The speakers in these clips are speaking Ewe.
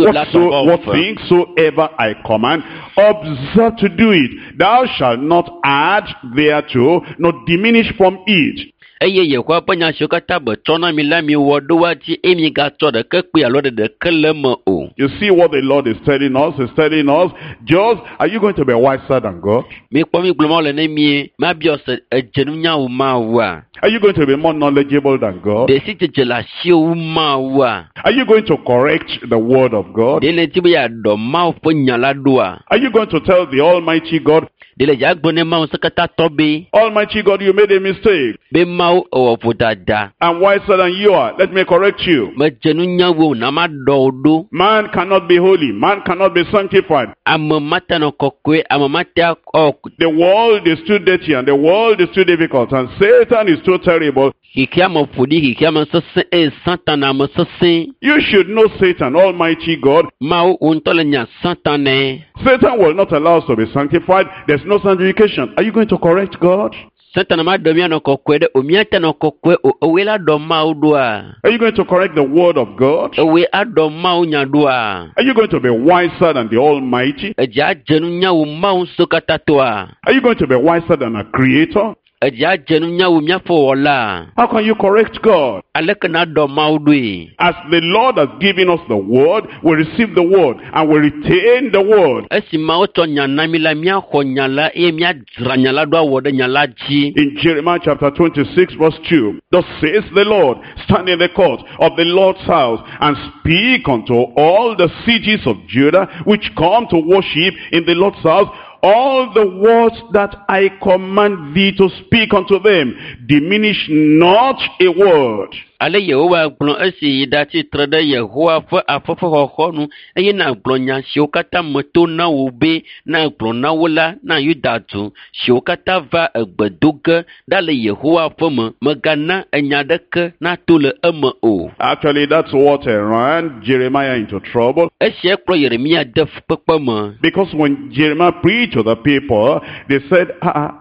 What things soever I command, observe to do it. Thou shalt not add thereto, nor diminish from it. Eye Yehowa ƒe nya siwo katã metsɔ na mi la miwɔ ɖo woa dzi eye migatsɔ ɖeke kpee alo ɖe ɖeke le eme o. You see what the Lord is telling us? He's telling us, just, are you going to be wiser than God? Mikpɔ mi gblɔ Mawu le ne mie, mabiɔ se edze nunya wu Mawua? Are you going to be more knowledgeable than God? Ɖe sidzedze le asiwò wu Mawua? Are you going to correct the word of God? Ɖe nèdi be yeaɖɔ Mawu ƒe nya la ɖoa? Are you going to tell the Almighty God, Ɖe le dzagblɔ ne Mawu ŋusẽkatãtɔ be, Almighty God, you made a mistake. Be Mawu ewɔ vodada. I'm wiser than you are. Let me correct you. Medze nunya wu wò, na maɖɔ wò ɖo. Man cannot be holy. Man cannot be sanctified. Ame mate anɔ kɔkɔe, ame mate akɔ. The world is too dirty and the world is too difficult and Satan is too terrible. Xexea me ƒo ɖi, xexea me sesẽ eye Satana ame sesẽ. You should know Satan, Almighty God. Mawu, wò ŋutɔ le nya Satanae. Satan will not allow us to be sanctified. There's no sanctification. Are you going to correct God? Satana maɖe míanɔ kɔkɔe ɖe o, míate nɔ kɔkɔe o. Ewòe la ɖɔ Mawu ɖoa? Are you going to correct the word of God? Ewòe aɖɔ Mawu nya ɖoa? Are you going to be wiser than the Almighty? Edze adze nunya wu Mawu ŋusẽkatãtɔa? Are you going to be wiser than a creator? Edze adze nunya wu míaƒe wɔla? How can you correct God? Aleke naɖɔ Mawu ɖoe? As the Lord has given us the word, we receive the word and we retain the word. Esi Mawu tsɔ nya na mí la, míaxɔ nya la eye míadzra nya la ɖo awɔ ɖe nya la dzi. In Jeremiah chapter 26 verse 2, thus says the Lord, stand in the court of the Lord's house and speak unto all the cities of Judah which come to worship in the Lord's house, all the words that I command thee to speak unto them. Diminish not a word. Ale Yehowa gblɔ esi yi ɖatsi tre ɖe Yehowa ƒe aƒe ƒe xɔxɔnu eye nàgblɔ nya siwo katã meto na wò be nàgblɔ na wo la na Yuda du siwo katã va egbe do ge ɖa le Yehowa ƒe me. Mègana enya ɖeke nato le eme o. Actually, that's what ran Jeremiah into trouble. Esia kplɔ Yeremia de fukpekpe me. Because when Jeremiah preached to the people, they said,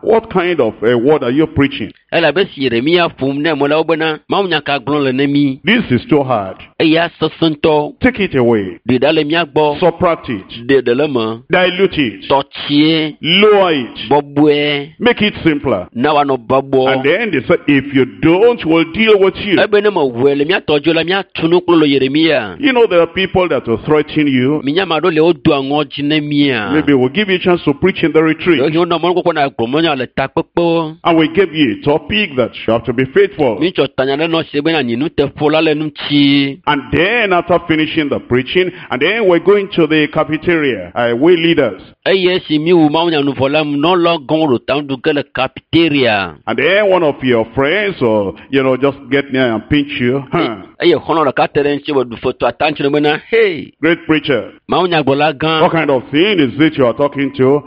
what kind of a word are you preaching? Elabe esi Yeremia ƒom ne ame la wo bena, Mawu nya ka gblɔm le ne mí? This is too hard. Eya sesẽ ŋutɔ. Take it away. Ɖe ɖa le mía gbɔ. Subtract it. Ɖe ɖe le eme. Dilute it. Tɔ tsie. Lower it. Bɔbɔe. Make it simpler. Na wòanɔ bɔbɔ. And then they said, if you don't, we'll deal with you. Ebe ne mewɔe le mía tɔ dzo la, míatu nu kple lo Yeremia. You know, there are people that will threaten you. Minya ame aɖewo le wodoa ŋɔdzi ne mía. Maybe we'll give you a chance to preach in the retreat. Ɖewohĩ wonɔ mɔnukpɔkpɔ na gblɔ mɔnya le takpekpewo. And we gave you a topic that you have to be faithful. Mítsɔ tanya ɖe nɔ si bena nyi nuteƒola le ŋuti. And then after finishing the preaching, and then we're going to the cafeteria, we leaders. Eye esi míwu mawunyanuvɔ la, nunɔlawo gɔ̃ ɖo ta nuɖu ge le cafeteria. And then one of your friends or, you know, just get near and pinch you. Huh. Eye xɔlɔ̃ ɖeka te ɖe ŋuti be ɖu fetu ata ŋuti bena, hey! Great preacher. Mawunyagblɔla gã. What kind of thing is it you are talking to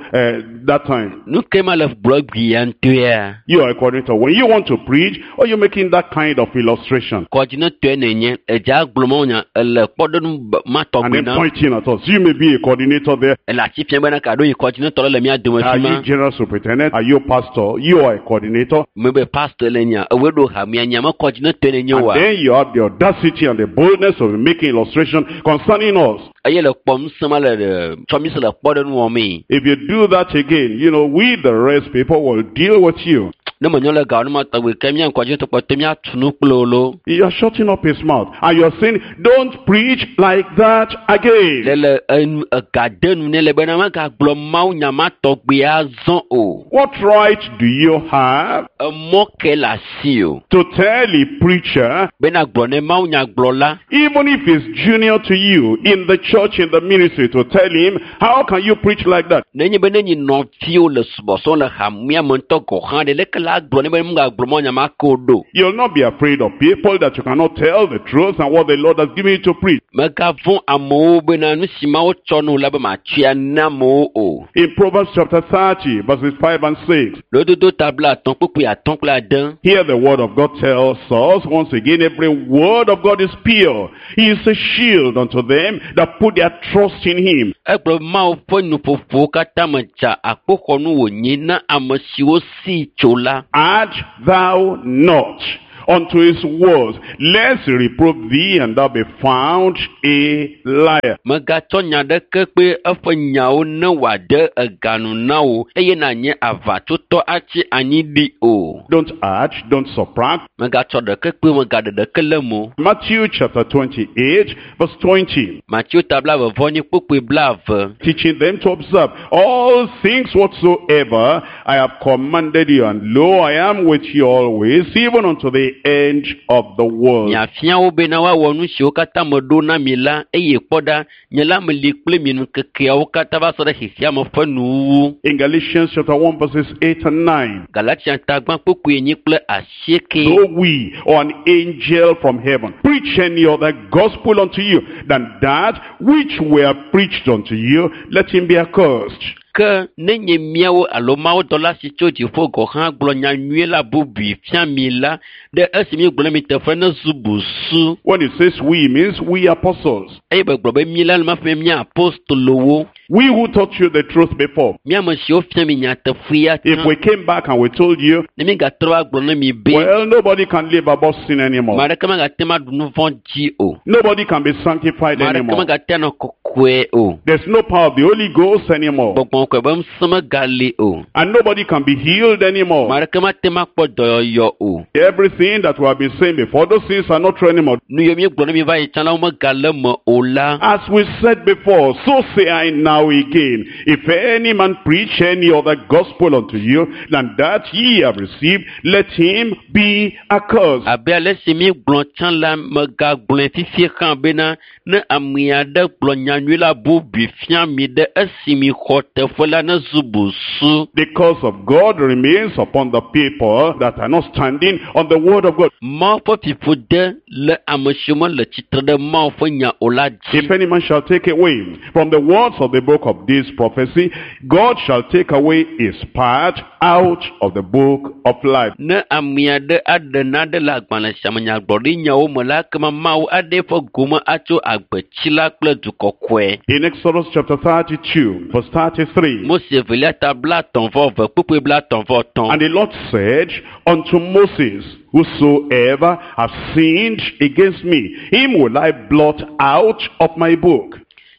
that time? Nu ke ma le gblɔ gbia ŋutɔea? You are a coordinator. When you want to preach, or you making that kind of illustration? Coordinator nenye, edze agblɔ mawunya, ele kpɔɖeŋu ma tɔgbi And then na. pointing at us. You may be a coordinator there. Ele ati fia bena ka ɖo yi coordinator le mía dome Are fi ma. you general superintendent? Are you pastor? You are a coordinator. Mebe pastor le nya, ewoe ɖo hamea nya, me coordinator nenye And wa. then you have the audacity and the boldness of making illustration concerning us. Eye le kpɔ ŋusẽ ma le ɖe, tsɔ mi se le kpɔɖeŋu wɔmee. If you do that again, you know, we the rest people will deal with you. Ne menyo le gawo ne ma tɔgbi ke mía coordinator kpɔtɔ míatu nu kple wo lo. You are shutting up his mouth and you are saying, don't preach like that again. Le le enu, ega de nu ne le bena megagblɔ Mawu nya ma tɔgbi azɔ o. What right do you have Emɔ ke le asi o. to tell a preacher, Bena gblɔ ne Mawu nya gblɔ la, even if he's junior to you in the church, in the ministry, to tell him, how can you preach like that? Nenye be nenyi nɔviwo le subɔsubɔm le hamea me ŋutɔ gɔ̃ hã ɖe, leke la gblɔ ne be megagblɔ Mawu nya ma ke o ɖo? You'll not be afraid of people that you cannot tell the truth and what the Lord has given you to preach. Megavɔ̃ amewo bena nu si Mawu tsɔ nu la be matsɔe na amewo o. In Proverbs chapter 30, verses 5 and 6, Lododo ta blaatɔ̃ kpukpui atɔ̃ kple ade. Here the word of God tells us, once again, every word of God is pure. He is a shield unto them that put their trust in him. Egblɔ Mawu ƒe nuƒoƒowo katã me dza akpoxɔnu wònye na ame siwo sii tso la. Add thou not, unto his words, lest he reprove thee, and thou be found a liar. Megatsɔ nya ɖeke kpe eƒe nyawo ne wòade eganu na wò eye nànye aʋatsotɔ atsi anyi ɖi o. Don't add, don't subtract. Megatsɔ ɖeke kpe megaɖe ɖeke le eme o. Matthew chapter 28, verse 20. Mateo ta 22 kpukpui 20. Teaching them to observe all things whatsoever I have commanded you, and lo, I am with you always, even unto the end of the world. Miafia wo bena woawɔ nu siwo katã meɖo na mi la eye kpɔ ɖa, nye la meli kple mi ŋkekeawo katã va se ɖe xexeame ƒe nuwuwu. In Galatians chapter 1, verses 8 and 9. Galatia ta 1 kpukpui 8 kple 8. Though we or an angel from heaven preach any other gospel unto you than that which we have preached unto you, let him be accursed. Ke nenye míawo alo mawudɔla si tso dziƒo gɔ̃ hã gblɔ nya nyui la bubui fia mi la, ɖe esi míegblɔ na mi teƒe nezu busu. When it says we, it means we apostles. Eye begblɔ be mí la le maƒe mía apostolowo. We who taught you the truth before. Mía ame siwo fia mi nyateƒea If tsã. we came back and we told you, Ne mígatrɔ va gblɔ na mi be, well, nobody can live above sin anymore. ame aɖeke megate ŋu aɖu nu vɔ̃ dzi o. Nobody can be sanctified Ame aɖeke anymore. megate anɔ kɔkɔe o. There's no power of the Holy Ghost anymore. Gbɔgbɔ kɔkɔe be ŋusẽ megali o. And nobody can be healed Ame anymore. aɖeke mate ŋu akpɔ dɔyɔyɔ o. Everything that we have been saying before, those things are not true anymore. Nu yiwo míegblɔ na mi va yi tsã la, womegale eme o la. As we said before, so say I now again, if any man preach any other gospel unto you than that ye have received, let him be accursed. Abe ale si míegblɔ tsã la, megagblɔe fifie hã bena ne ame aɖe gblɔ nyanyui la bubui fia mi ɖe esi mixɔ teƒe la nezu busu. The curse of God remains upon the people that are not standing on the word of God. Mawu ƒe fiƒode le ame siwo mele tsitre ɖe Mawu ƒe nya o la dzi. If any man shall take away from the words of the book of this prophecy, God shall take away his part out of the book of life. Ne ame aɖe aɖe naɖe le agbalẽ sia me nyagblɔɖinyawo me la, ekema Mawu aɖe eƒe gome atso agbetsi la kple du kɔkɔe. In Exodus chapter 32, verse 33, Mose evelia ta 32 kpukpui 33. And the Lord said unto Moses, Whosoever hath sinned against me, him will I blot out of my book.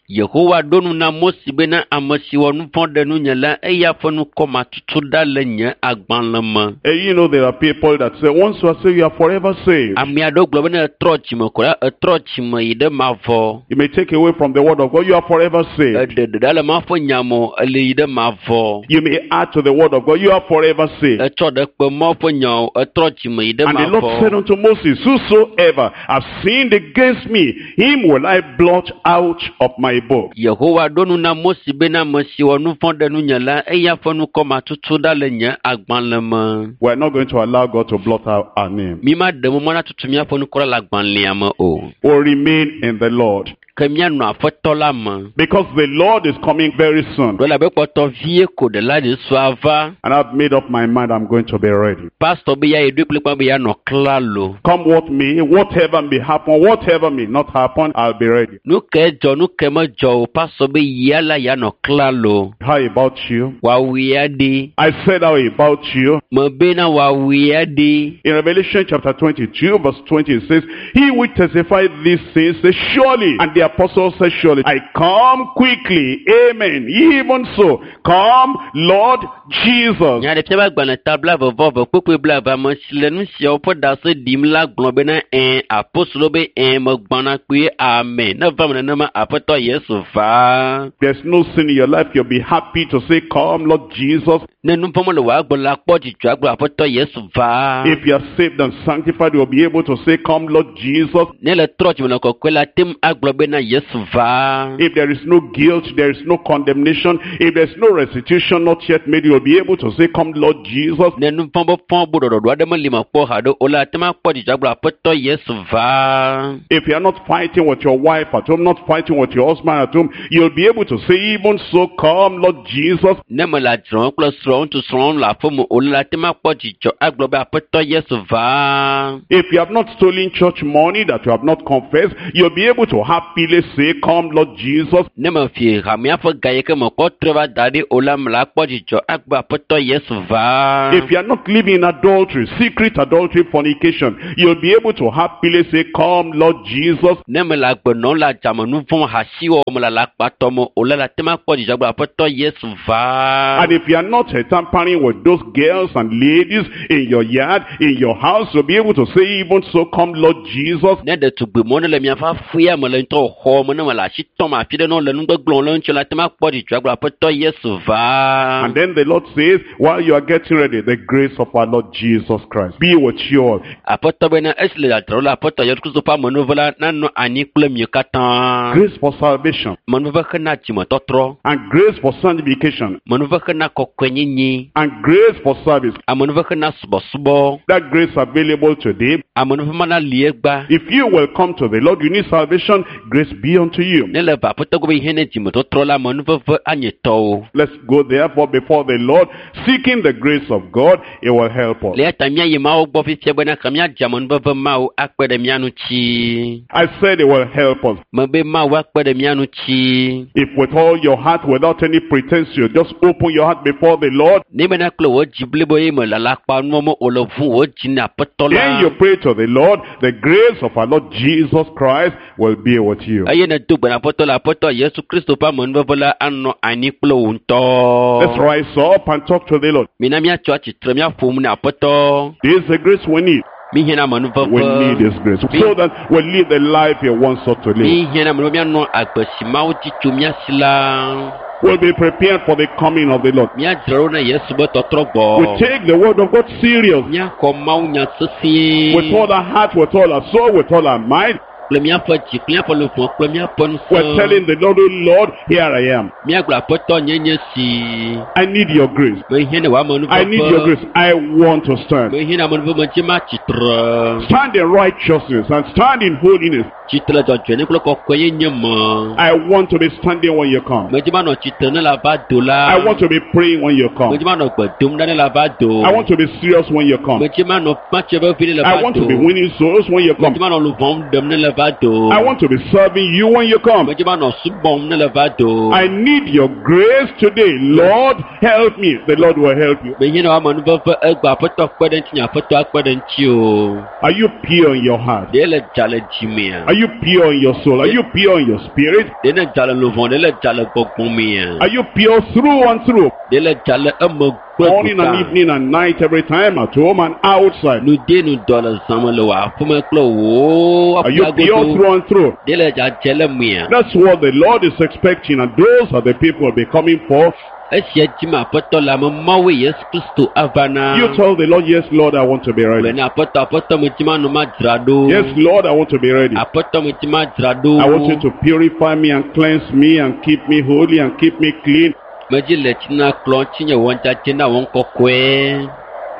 Yehowa ɖo nu na Mose bena ame si wɔ nu vɔ̃ ɖe nunye la, eya ƒe ŋkɔ matutu ɖa le nye agbalẽ me. You know, there are people that say, once you are saved, you are forever saved. Ame aɖewo gblɔ bena etrɔ dzime ko la, etrɔ dzime yi ɖe mavɔ. You may take away from the word of God, you are forever saved. Eɖe ɖeɖe le Mawu ƒe nya me o, ele yi ɖe mavɔ. You may add to the word of God, you are forever saved. Etsɔ ɖe kpe Mawu ƒe nya o, etrɔ dzime yi ɖe And the Lord said mavɔ. unto Moses, Whosoever hath sinned against me, him will I blot out of my book. Yehowa ɖo nu na Mose bena ame si wɔ nu vɔ̃ ɖe nunye la, eya ƒe ŋkɔ matutu ɖa le nye agbalẽ me. We are not going to allow God to blot out our name. Mi ma ɖe mɔ na tutu míaƒe ŋkɔ ɖa le agbalẽa me o. We'll remain in the Lord. Ke míanɔ Aƒetɔ la me. Because the Lord is coming very soon. Ɖo elabe kpɔtɔ vie ko ɖela Yesu ava. And I've made up my mind I'm going to be ready. Pastor be ya yi ɖoe kplikpaa be yeanɔ klalo. Come what may, whatever may happen, whatever may not happen, I'll be ready. Nu ke dzɔ, nu ke medzɔ o, pastor be yia la yeanɔ klalo. How about you? Wòawui ya ɖi. I said how about you? Mebena wòawui ya ɖi. In Revelation chapter 22, verse 20, it says, He which testified these things says, Surely, and the apostle says, Surely, I come quickly. Amen. Even so, come, Lord Jesus. Nyaɖeƒe ƒe agbalẽ ta 22 kpukpui 20 ame si le nu siawo ƒe ɖase ɖim la gblɔ bena ɛ̃, apostolo be ɛ̃, megbɔna kpuie, amen. Ne va me nenema, Aƒetɔ Yesu va. There's no sin in your life. You'll be happy to say, Come, Lord Jesus. Ne nu vɔ̃ mele wò agbe la, kpɔ dzidzɔ agblɔ Aƒetɔ Yesu va. If you are saved and sanctified, you'll be able to say, Come, Lord Jesus. Ne le trɔ dzime le kɔkɔe la, te ŋu agblɔ bena Yesu va. If there is no guilt, there is no condemnation. If there's no restitution not yet made, you'll be able to say, Come, Lord Jesus. Ne nu vɔ̃ be fɔ bu ɖɔɖɔɖo aɖe meli me kpɔ haɖe o la, te ŋu akpɔ dzidzɔ agblɔ Aƒetɔ Yesu va. If you are not fighting with your wife at home, not fighting with your husband at home, you'll be able to say, Even so, come, Lord Jesus. Ne mele adzrɔm kple srɔ̃ŋutsu srɔ̃ le aƒeme o la, te ŋu akpɔ dzidzɔ agblɔ be Aƒetɔ Yesu va. If you have not stolen church money that you have not confessed, you'll be able to have peace happily say, Come, Lord Jesus. Ne mefi hamea ƒe ga yi ke mekɔ trɔe va da ɖi o la me la akpɔ dzidzɔ agbe aƒetɔ Yesu va. If you are not living in adultery, secret adultery, fornication, you'll be able to happily say, Come, Lord Jesus. Ne mele agbe nɔm le adzame nu vɔ̃ hasiwɔwɔ me le alakpatɔ me o la, la te ma kpɔ dzidzɔ agbe aƒetɔ Yesu va. And if you are not tampering with those girls and ladies in your yard, in your house, you'll be able to say, Even so, come, Lord Jesus. Ne ɖetugbi mɔ ne le miaƒe aƒea me le ŋutɔ xɔ me ne me le asi tɔm afi ɖe ne wole nugbegblẽ le ŋuti la te ma kpɔ dzidzɔ agbe aƒetɔ Yesu va. And then the Lord says, while you are getting ready, the grace of our Lord Jesus Christ be with you all. Aƒetɔ bena esi le dzadzraɖo la aƒetɔ Yesu Kristo ƒe amenuveve la nanɔ anyi kple mi katã. Grace for salvation Amenuveve hena dzimetɔtrɔ, and grace for sanctification amenuveve hena kɔkɔenyenye, and grace for service. amenuveve hena subɔsubɔ, That grace available today. amenuveve mana li egba. If you will come to the Lord, you need salvation, grace be unto you. Ne le va aƒetɔ gbɔ be yi ne dzimetɔtrɔ la amenuveve anye tɔwò. Let's go therefore before the Lord, seeking the grace of God. It will help us. Le eya ta míayi Mawu gbɔ fifia bena ke míadze amenuveve Mawu akpe ɖe mía ŋuti. I said it will help us. Mebe Mawu akpe ɖe mía ŋuti. If with all your heart, without any pretense, you just open your heart before the Lord, Ne bena kple wò dzi blibo ye me le alakpanuwo me o le ʋu wò dzi na aƒetɔ then la. you pray to the Lord, the grace of our Lord Jesus Christ will be with you. Eye nèdo gbe na aƒetɔ la, aƒetɔ Yesu Kristo ƒe amenuveve la anɔ anyi kple wò Let's ŋutɔ. rise up and talk to the Lord. Mina míatsɔ atsitre míaƒo nu na aƒetɔ. This is the grace we need. Míhiã na We need amenuveve. His grace so that we live the life He wants us to live. Míhiã na amenuveve míanɔ agbe si Mawu di tso mía si la. We'll be prepared for the coming of the Lord. Míadzra ɖo na Yesu be tɔtrɔ gbɔ. We take the word of God serious Míaxɔ Mawu nya sesĩe. with all our heart, with all our soul, with all our mind. Kple míaƒe dzi, kple míaƒe luʋɔ, kple míaƒe We're ŋusẽ. telling the Lord, oh Lord, here I am. Míagblɔ aƒetɔ nye nye si. I need your grace. Mehiã na wò I need your amenuveve. grace. I want to stand. Mehiã na amenuveve medzi matsitre. Stand in righteousness and stand in holiness. Tsitre dzɔdzɔenye kple kɔkɔenyenye me. I want to be standing when you come. Medzi manɔ tsitre ne le ava do la. I want to be praying when you come. Medzi manɔ gbe dom ɖa ne le ava do. I want to be serious when you come. Medzi manɔ matse vevi ne le I ava want to do. be winning souls when you come. Medzi manɔ luʋɔm ɖem ne le va do. I want to be serving you when you come. Medzi manɔ subɔm ne le va do. I need your grace today. Lord, help me. The Lord will help you. Mehiã na wò amenuveve egbe aƒetɔ kpe ɖe ŋutinye aƒetɔ akpe ɖe ŋuti o. Are you pure in your heart? Ɖe le dza le dzimea? Are you pure in your soul? Are you pure in your spirit? Ɖe ne dza le luʋɔ, ɖe le dza le gbɔgbɔ mea? Are you pure through and through? Ɖe le dza le eme kple Morning and gota? evening and night, every time, at home and outside. Nu de nu dɔ le zãme le wò aƒeme kple wò Are you pure aƒeagodo. through and through? Ɖe le dzadze le mea? That's what the Lord is expecting, and those are the people will be coming for. Esia dzim aƒetɔ le ame mawoe Yesu Kristo ava na. You tell the Lord, yes, Lord, I want to be Gblɔe ready. na aƒetɔ, aƒetɔ medzi manɔ madzra ɖo. Yes, Lord, I want to be ready. Aƒetɔ medzi madzra ɖo. I want you to purify me and cleanse me and keep me holy and keep me clean, Medzi le tsi na kplɔ tsinye wɔ dzadze na wɔ kɔkɔe.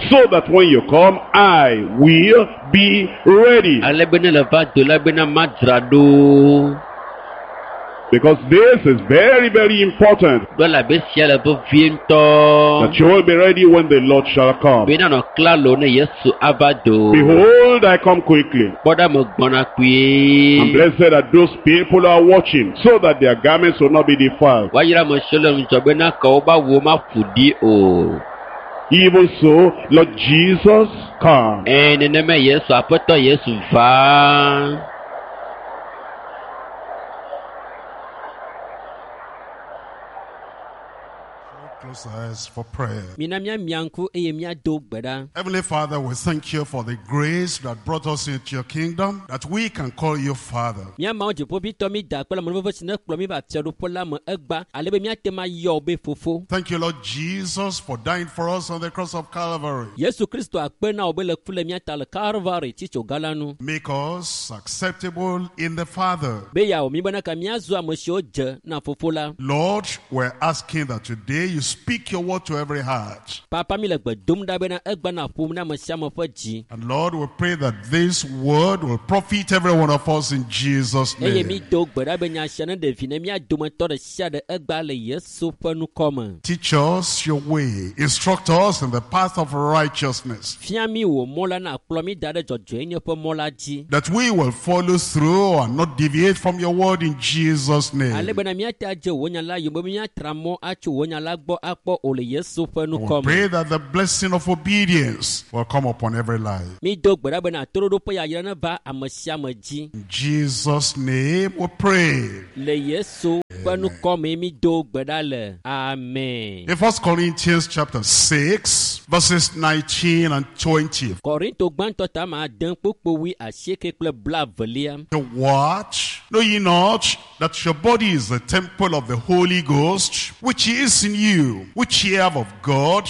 so that when you come, I will be ready. Ale be ne le va do la bena madzra ɖo. Because this is very, very important, Ɖo elabe sia le vevie ŋutɔ. that you will be ready when the Lord shall come. Be nanɔ klalo ne Yesu ava do. Behold, I come quickly. Kpɔ ɖa megbɔna kpuie. And blessed are those people who are watching, so that their garments will not be defiled. Woayra ame siwo le ŋudzɔ bena ke woƒe awuwo maƒo ɖi o. Even so, Lord Jesus, come. Ẽ nenema Yesu aƒetɔ Yesu va. Close our eyes for prayer. Mina míamia ŋku eye míado gbe ɖa. Heavenly Father, we thank you for the grace that brought us into your kingdom, that we can call you Father. Mía Mawu dziƒoʋĩtɔ mí da akpe le amenuveve si ne kplɔ mí va fiaɖuƒe la me egba ale be míate ŋu ayɔ wò be fofo. Thank you, Lord Jesus, for dying for us on the cross of Calvary. Yesu Kristo akpe na wò be le ku le mía ta le Kalvari tsitsoga la nu. Make us acceptable in the Father. Be yeawɔ mí bena ka míazu ame siwo dze na fofo la. Lord, we're asking that today you speak your word to every heart. Papa mi le gbe dom ɖa bena egba na ƒom na ame sia ame ƒe dzi. And Lord, we pray that this word will profit every one of us in Jesus' Eye mi name. do gbe ɖa be nya sia ne ɖe vi ne mía dometɔ ɖe sia ɖe egba le Yesu ƒe ŋkɔ me. Teach us your way. Instruct us in the path of righteousness. Fia mi wò mɔ la na kplɔ mi da ɖe dzɔdzɔenye ƒe mɔ la dzi. That we will follow through and not deviate from your word in Jesus' Ale name. bena míate adze wò nya la yome be míatra mɔ atso wò nya la gbɔ akpɔ o le Yesu ƒe We ŋkɔ me. pray that the blessing of obedience will come upon every life. Mi do gbe ɖa bena toɖoɖo ƒe yayra neva ame sia ame dzi. In Jesus' name we pray. Le Yesu ƒe ŋkɔ me mi do gbe ɖa le. Amen. In 1 Corinthians chapter 6, verses 19 and 20. Korinto gbãtɔ ta ma ade kpokpo wui asieke kple blaevelia. To watch, know ye not that your body is the temple of the Holy Ghost, which is in you, which ye have of God,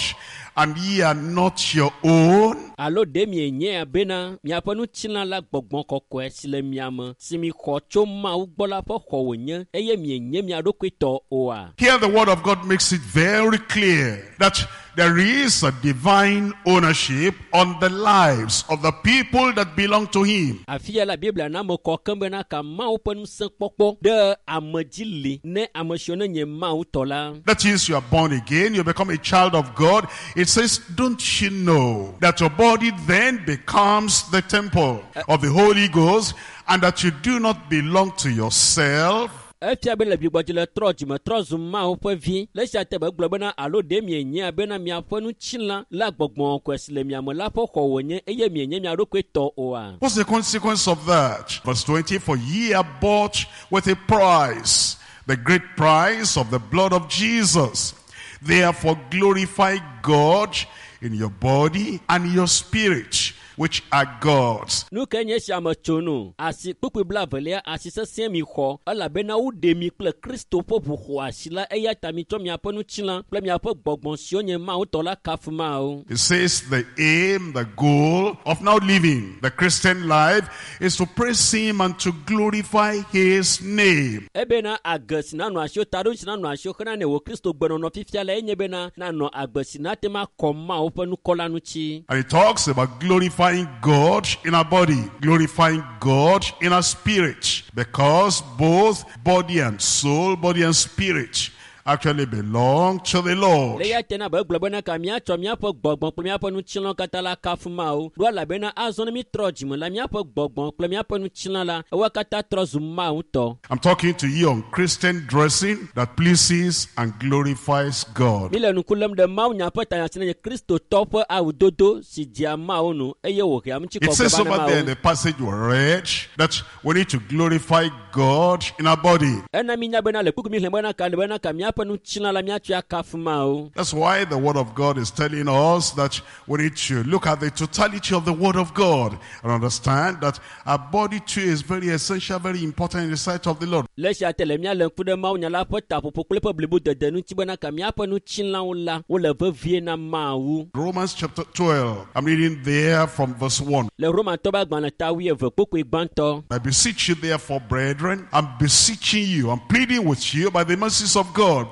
and ye are not your own? Alo ɖe mienyae bena miaƒe ŋutilã la gbɔgbɔ kɔkɔe si le mia me si mi xɔ tso Mawu gbɔ la ƒe xɔ wònye eye mienye mia ɖokui tɔ oa? Here the word of God makes it very clear that there is a divine ownership on the lives of the people that belong to him. Afi ya la Biblia na ame kɔ keŋ bena ka Mawu ƒe ŋusẽ kpɔkpɔ ɖe ame dzi li ne ame siwo ne nye Mawu tɔ la. That is, you are born again, you become a child of God. It says, don't you know that your body then becomes the temple of the Holy Ghost and that you do not belong to yourself? Efia be le gbigbɔdzi le trɔ dzime trɔ zu Mawu ƒe vi. Le esia te be gblɔ bena alo ɖe mienyae bena miaƒe ŋutilã la gbɔgbɔ kɔkɔe si le mia me la ƒe xɔ wònye eye mienye mia ɖokui tɔ oa? What's the consequence of that? Verse 20, for ye are bought with a price, the great price of the blood of Jesus. Therefore glorify God in your body and your spirit, which are God's. Nu ke nye esia me tso nu? Asi kpukpui blaevelia asi sesẽ mi xɔ elabena woɖe mi kple Kristo ƒe ʋu xɔ asi la eya ta mitsɔ miaƒe ŋutilã kple miaƒe gbɔgbɔ siwo nye Mawu tɔ la kafu Mawu. It says the aim, the goal of now living the Christian life is to praise him and to glorify his name. Ebena age si nanɔ asiwò taɖo si nanɔ asiwò xena ne wò Kristo gbenɔnɔ fifia la enye bena nanɔ agbe si nate ma kɔ Mawu ƒe ŋkɔ la ŋuti. And it talks about glorifying God in our body, glorifying God in our spirit, because both body and soul, body and spirit, actually belong to the Lord. Le eya te na be gblɔ bena ka míatsɔ míaƒe gbɔgbɔ kple míaƒe ŋutilã katã la kafu Mawu. Ɖo elabena azɔ ne mítrɔ dzime la míaƒe gbɔgbɔ kple míaƒe ŋutilã la ewoa katã trɔ zu Mawu tɔ. I'm talking to you on Christian dressing that pleases and glorifies God. Mi le ŋku lém ɖe Mawu nya ƒe tanya si ne nye Kristotɔ ƒe awudodo si dzea Mawu nu eye wòhea It ŋutikɔkɔe says va na over there in Mawu. the passage we read that we need to glorify God in our body. Ena mi nya bena le kpukpui mi xlẽ bena ka le bena ka míaƒe ŋutilã la míatsɔe akafu Mawu. That's why the Word of God is telling us that we need to look at the totality of the Word of God and understand that our body too is very essential, very important in the sight of the Lord. Le esia te le mía le ŋku ɖe Mawu nya la ƒe taƒoƒo kple eƒe blibodede ŋuti bena ka míaƒe ŋutilãwo la wole vevie na Mawu. Romans chapter 12, I'm reading there from verse 1. Le Romatɔ ƒe agbalẽ ta wuieve kpukpui gbãtɔ. I beseech you therefore, brethren, I'm beseeching you, I'm pleading with you by the mercies of God,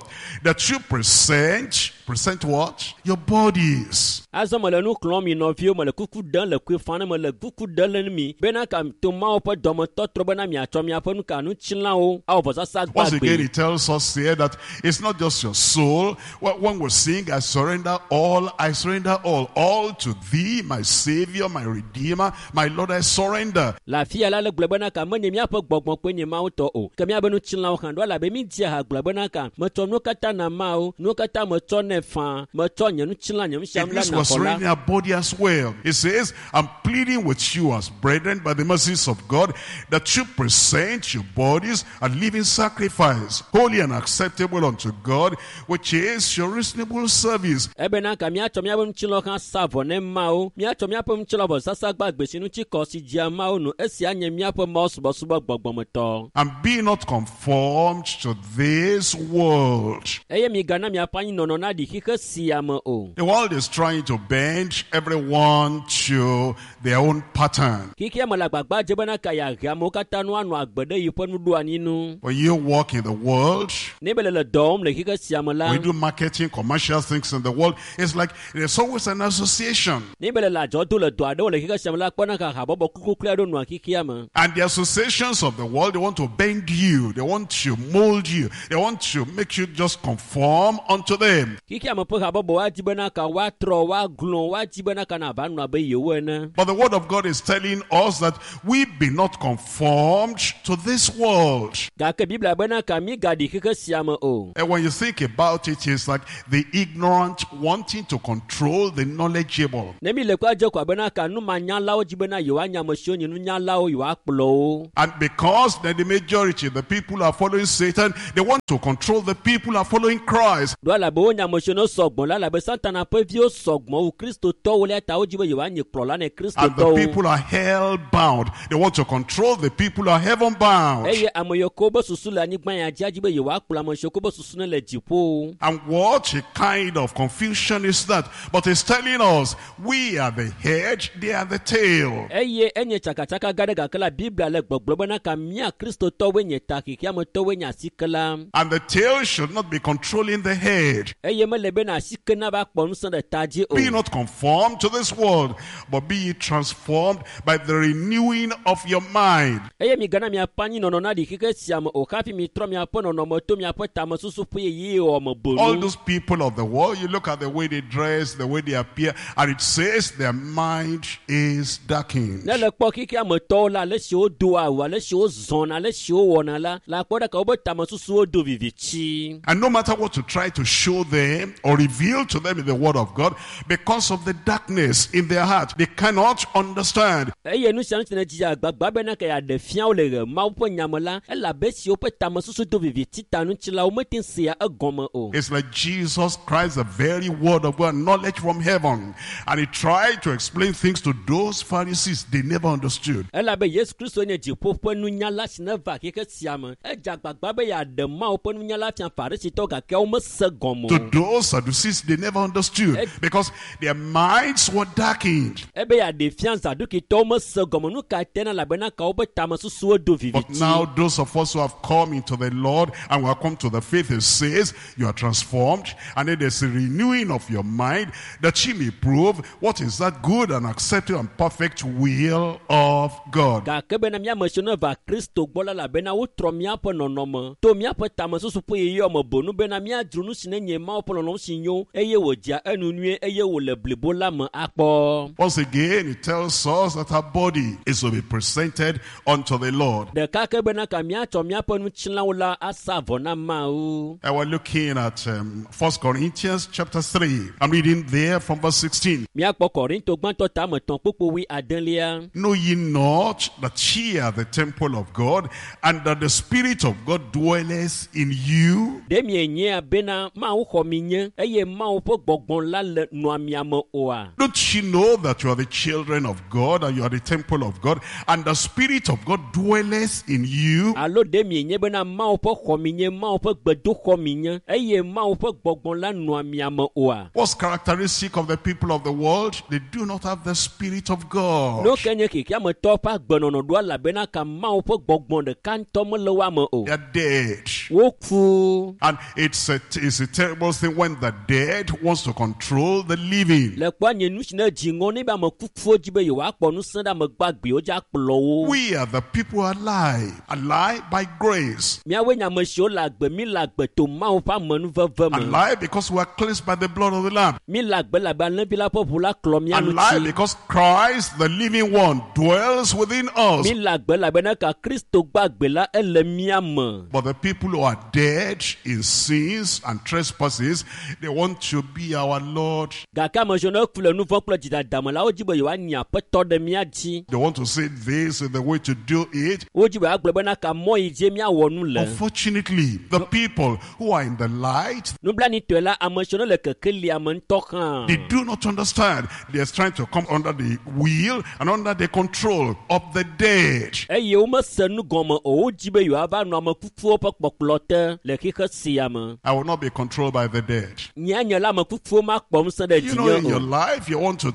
that you present, present what? Your bodies. Azɔ mele nu xlɔ̃m mi nɔviwo mele kuku ɖem le kuifa ne mele kuku ɖem le mi bena ka to Mawu ƒe dɔmetɔtrɔ bena miatsɔ miaƒe nu ka ŋutilãwo awɔ vɔsasa Once again, gbagbe. he tells us here that it's not just your soul. Well, when we sing, I surrender all, I surrender all, all to thee, my Savior, my Redeemer, my Lord, I surrender. Le afi ya la le gblɔ bena ka menye míaƒe gbɔgbɔ kple nye Mawu tɔ o ke míaƒe ŋutilãwo hã ɖo elabe mi dzia ha gblɔ bena ka metsɔ nuwo katã na Mawu nuwo katã metsɔ nɛ faa metsɔ nye ŋutilã nye It nusianu la means na we're xɔ la. surrendering our body as well. It says, I'm pleading with you as brethren by the mercies of God that you present your bodies a living sacrifice, holy and acceptable unto God, which is your reasonable service. Ebena ka míatsɔ míaƒe ŋutilã hã sa vɔ ne Mawu míatsɔ míaƒe ŋutilã vɔsasa gbagbe si ŋuti kɔ si dzea Mawu nu esia nye míaƒe Mawu subɔsubɔ gbɔgbɔmetɔ. And be not conformed to this world, Eye migana miaƒe anyinɔnɔ naɖi migaɖi xixe sia me o. The world is trying to bend everyone to their own pattern. Xixia me le agbagba dze bena ka yeahe amewo katã nu anɔ agbe ɖe yiƒe nuɖoanyi nu. When you work in the world, Ne be le le dɔ wɔm le xixe sia me la, we do marketing, commercial things in the world. It's like there's always an association. ne be le le adzɔ do le dɔ aɖewo le xixe sia me la, kpɔna ka habɔbɔ kukluklu aɖewo nɔa xixia me. And the associations of the world, they want to bend you. They want to mold you. They want to make you just conform unto them. Xixia me ƒe habɔbɔ woadi bena ka woatrɔ, woaglɔ̃, woadi bena ka nava nɔ abe yewo ene. But the word of God is telling us that we be not conformed to this world. Gake Biblia bena ka migaɖi xixe sia me o. And when you think about it, it's like the ignorant wanting to control the knowledgeable. Ne mi le kpɔ adze ko abena ka numanyalawo dzi bena yewoanya ame siwo nye nunyalawo yewoakplɔ wo. And because then the majority, the people who are following Satan, they want to control the people who are following Christ. Ɖo elabe wonya ame siwo ne sɔgbɔ la elabe Satana ƒe viwo sɔgbɔ wu kristotɔwo le ta wodzi be yewoanye kplɔla ne And the kristotɔwo. people are hell bound. They want to control the people who are heaven bound. Eye ame yiwo ke wobe susu le anyigba ya dzi adzi be yewoakplɔ ame siwo ke wobe susu ne le dziƒo. And what a kind of confusion is that? But it's telling us we are the head, they are the tail. Eye enye tsakatsaka gã ɖe gake la Biblia le gbɔgblɔ bena ka mía kristotɔwoe nye ta xexeametɔwoe nye asike la. And the tail should not be controlling the head. Eye mele bena asike nava kpɔ ŋusẽ ɖe ta dzi o. Be not conformed to this world, but be ye transformed by the renewing of your mind. Eye migana miaƒe anyinɔnɔ naɖi xixe sia me o hafi mitrɔ miaƒe nɔnɔme to miaƒe tamesusu ƒe ɣeyiɣi wɔ me All bonu. those people of the world, you look at the way they dress, the way they appear, and it says their mind is darkened. Ne le kpɔ xixea me tɔwo la, ale si wodoa awu, ale si wozɔna, ale si wowɔna la, la kpɔ ɖeka wobe tamesusuwo do vivitsi. And no matter what you try to show them or reveal to them in the Word of God, because of the darkness in their heart, they cannot understand. Eye nu sia nu si ne dzi agbagba bena ke yeaɖe fia wo le ɣe Mawu ƒe nyame la, elabe si woƒe tamesusu do vivitsi ta ŋuti la, womete ŋu sea egɔme o. It's like Jesus Christ, the very Word of God, knowledge from heaven. And he tried to explain things to those Pharisees they never understood. Elabe Yesu Kristo nye dziƒo ƒe nunyala si ne va xexe sia me. Edze agbagba be yeaɖe Mawu ƒe nunyala fia Farisitɔwo gake womese gɔme To o. those Sadducees, they never understood because their minds were darkened. Ebe yeaɖe fia Zadukitɔwo mese gɔme nu ka tena elabena ka woƒe tamesusuwo do But vivitsi. now those of us who have come into the Lord and who have come to the faith, it says you are transformed, and then there's a renewing of your mind that ye may prove what is that good and acceptable and perfect will of God. Gake bena míame siwo ne va Kristo gbɔ la elabena wotrɔ míaƒe nɔnɔme to míaƒe tamesusu ƒe ɣeyiɣi me bonu bena míadzro nu si ne nye Mawu ƒe lɔlɔ̃nu si nyo eye wòdzea enu nyuie eye wòle blibo la me akpɔ. Once again, it tells us that our body is to be presented unto the Lord. Ɖeka ke bena ka míatsɔ míaƒe nutsilawo la asa vɔ na Mawu. And we're looking at 1 Corinthians chapter 3. I'm reading there from verse 16. Míakpɔ Korinto gbãtɔ tame tɔ̃ kpukpu wui adelia. Know ye not that ye are the temple of God, and that the Spirit of God dwelleth in you? Ɖe mienyea bena Mawu xɔ mi nye eye Mawu ƒe gbɔgbɔ la le nɔa mia me oa? Don't you know that you are the children of God, and you are the temple of God, and the Spirit of God dwelleth in you? Alo ɖe mienye bena Mawu ƒe xɔ mi nye, Mawu ƒe gbedoxɔ mi nye eye Mawu ƒe gbɔgbɔ la nɔa mia me oa? What's characteristic of the people of the world? They do not have the Spirit of God. Nu ke nye xexeametɔwo ƒe agbenɔnɔ ɖo elabena ka Mawu ƒe gbɔgbɔ ɖeka ŋutɔ mele woa me o. They are dead. Woku. And it's a terrible thing when the dead wants to control the living. Le kpɔa nye nu si ne dzi ŋɔ ne be ame kukuwo dzi be yewoakpɔ ŋusẽ ɖe ame gbagbewo dzi akplɔ wo. We are the people alive, alive by grace, Míawoe nye ame siwo le agbe, mi le agbe to Mawu ƒe amenuveve me. alive because we are cleansed by the blood of the Lamb, Mi le agbe labe alẽvi la ƒe ʋu la klɔ mía alive ŋuti. because Christ, the living one, dwells within us. Mi le agbe elabena ka Kristo gbagbe la ele mía me. But the people who are dead in sins and trespasses, they want to be our Lord. Gake ame siwo ne ku le nu vɔ̃ kple dzidada me la, wodzi be yewoanye aƒetɔ ɖe mía dzi. They want to say this is the way to do it. Wodzi be yewoagblɔ bena ka mɔ yi dzie míawɔ nu le. Unfortunately, the people who are in the light, Nublanuitɔe la, ame siwo ne le kekelia me ŋutɔ hã. they do not understand. They are trying to come under the will and under the control of the dead. Eye womese nu gɔme o, wodzi be yewoava nɔ ame kukuwo ƒe kpɔkplɔ te le xixe sia me. I will not be controlled by the dead. Nye nye la ame kukuwo makpɔ ŋusẽ ɖe You know, in dzinye your o. life, you want to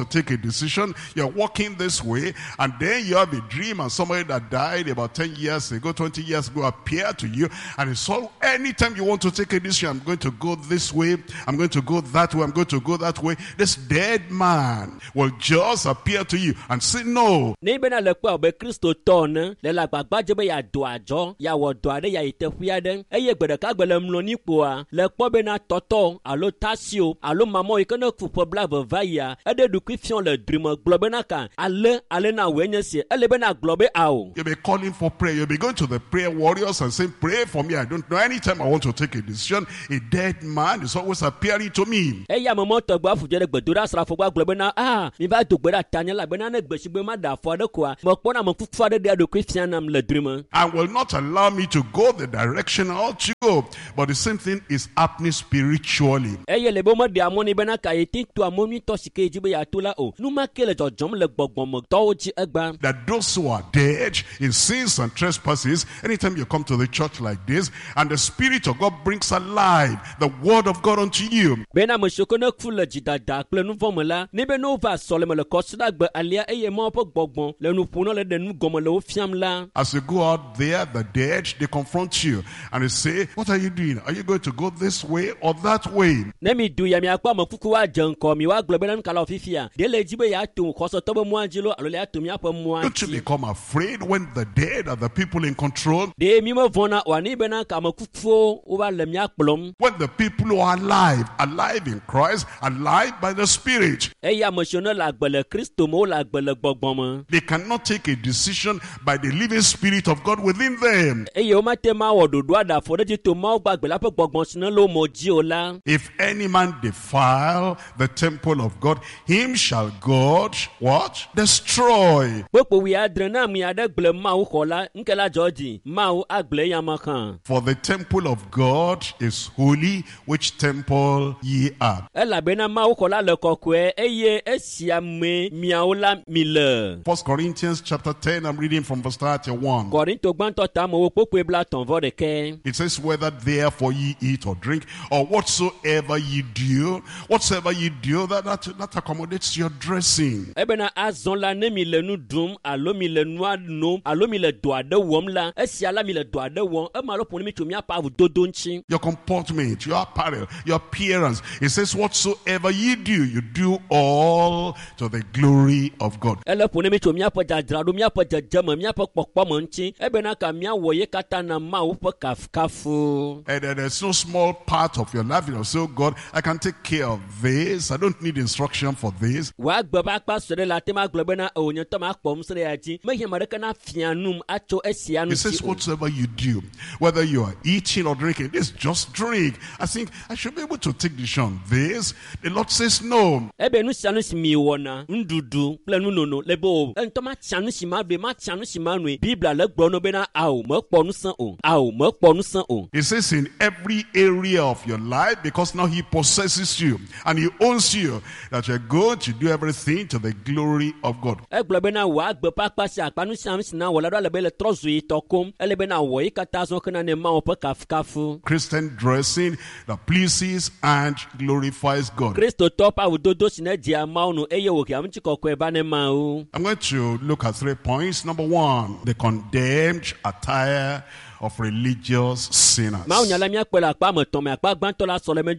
take a decision. You're walking this way, and then you have a dream, and somebody that died about 10 years ago, 20 years ago, appear to you, and it's all, anytime you want to take a decision, I'm going to go this way, I'm going to go that way, I'm going to go that way. This dead man will just appear to you and say, no. Ne bena le kpɔe abe kristotɔ ene le le agbagba dze be yeado adzɔ yeawɔ dɔ aɖe yeayi teƒe aɖe eye gbe ɖeka gbe le mlɔni kpoa le kpɔ bena tɔtɔ alo tasio alo mamɔ yi ke ne ku ƒe blaeve va yia eɖe ɖokui fiɔ le drime gblɔ bena ka ale ale na wòe nye si ele bena gblɔ be ao. You'll be calling for prayer. You'll be going to the prayer warriors and saying, pray for me. I don't know. Anytime I want to take a decision, a dead man is always appearing to me. Eya ame mɔ tɔgbe afu dze ɖe gbedoɖasrafo gbɔ agblɔ bena a mi va do gbe ɖe atanye elabena ne gbe si gbe ma ɖe afɔ aɖe koa mekpɔna ame kuku aɖe ɖea ɖokui fia nam le drime. And will not allow me to go the direction I ought to go. But the same thing is happening spiritually. Eye le be womeɖea mɔ nɛ bena ka ye te toa mɔ nyuitɔ si ke ye dzi be yeato la o. Nu ma ke le dzɔdzɔm le gbɔgbɔmetɔwo dzi egbea. That those who are dead in sins and trespasses, anytime you come to the church like this, and the Spirit of God brings alive the Word of God unto you. Bena ame siwo ke ne ku le dzidada kple nu vɔ̃ me la, ne be ne wova sɔleme le kɔsiɖagbe alea eye Mawu ƒe gbɔgbɔ le nu ƒom na le ɖe nu gɔme le wo fiam la. As you go out there, the dead, they confront you and they say, what are you doing? Are you going to go this way or that way? Ne mi du ya miakpɔ ame kuku woadze ŋgɔ mi woagblɔ bena nu ka le wɔ fifia? Ɖe le dzi be yeato xɔsetɔ be mɔa dzi loo alo le yeato míaƒe mɔa Don't you dzi? become afraid when the dead are the people in control? Ɖe mi mevɔ̃na oa ne bena ka ame kukuwo wova le mía kplɔm. When the people who are alive, alive in Christ, alive by the Spirit, Eye ame siwo ne le agbe le Kristo me, wole agbe le gbɔgbɔ me. they cannot take a decision by the living Spirit of God within them. Eye womate ma wɔ ɖoɖo aɖe afɔ ɖe dzi to Mawu gbagbe la ƒe gbɔgbɔ si ne le wo me dzi o la. If any man defile the temple of God, him shall God, what? Destroy. Kpokpo wuiadre ne ame aɖe gblẽ Mawu xɔ la, ŋke la dzɔ dzi, Mawu agblẽ eya me hã. For the temple of God is holy, which temple ye are. Elabena Mawu xɔ la le kɔkɔe eye esia mee miawo la mi le. 1 Corinthians chapter 10, I'm reading from verse 31. Korinto gbãtɔ ta amewo kpokpoe blaetɔ̃ vɔ ɖekɛ. It says, whether therefore ye eat or drink, or whatsoever ye do, that accommodates your dressing. Ebena azɔ la ne mi le nu ɖum alo mi le nua nom alo mi le dɔ aɖe wɔm la, esia la mi le dɔ aɖe wɔm, ema alo ƒo ne mi tso míaƒe awudodo ŋuti. Your comportment, your apparel, your appearance. It says, whatsoever ye do, you do all to the glory of God. Ele ƒo ne mi tso míaƒe dzadzraɖo, míaƒe dzedzeme, míaƒe kpɔkpɔme ŋuti. Ebena ka míawɔ ye katã na Mawu ƒe kafukafu. And then there's no small part of your life. You know, so God, I can take care of this. I don't need instruction for this. Wòagbe ƒe akpa sue ɖe le ate ma gblɔ bena o nye ŋutɔ makpɔ ŋusẽ ɖe ya dzi. Mehiã ame aɖeke nafia num atso esia It says, ŋuti o. whatsoever you do, whether you are eating or drinking, this just drink. I think I should be able to take decision on this. The Lord says no. Ebe nu sia nu si mi wɔna, nuɖuɖu kple nunono le be o. Eŋutɔ matsia nu si ma ɖue, matsia nu si ma noe. Biblia le gblɔ no bena ao mekpɔ ŋusẽ o, ao mekpɔ ŋusẽ o. It says in every area of your life, because now he possesses you and he owns you, that you're going to do everything to the glory of God. Egblɔ bena wò agbe ƒe akpa sia akpa nu sia nu si na wɔ la ɖo ale be le trɔ zu yi tɔ kom. Ele bena wɔ yi katã zɔ kena ne Mawu ƒe kafukafu. Christian dressing that pleases and glorifies God. Kristotɔ ƒe awudodo si ne dzea Mawu nu eye wòhea ŋutikɔkɔe va ne Mawu. I'm going to look at 3 points. Number 1, the condemned attire of religious sinners. Mawu nya la míakpɔe le akpa ame etɔ̃ me. Akpa gbãtɔ la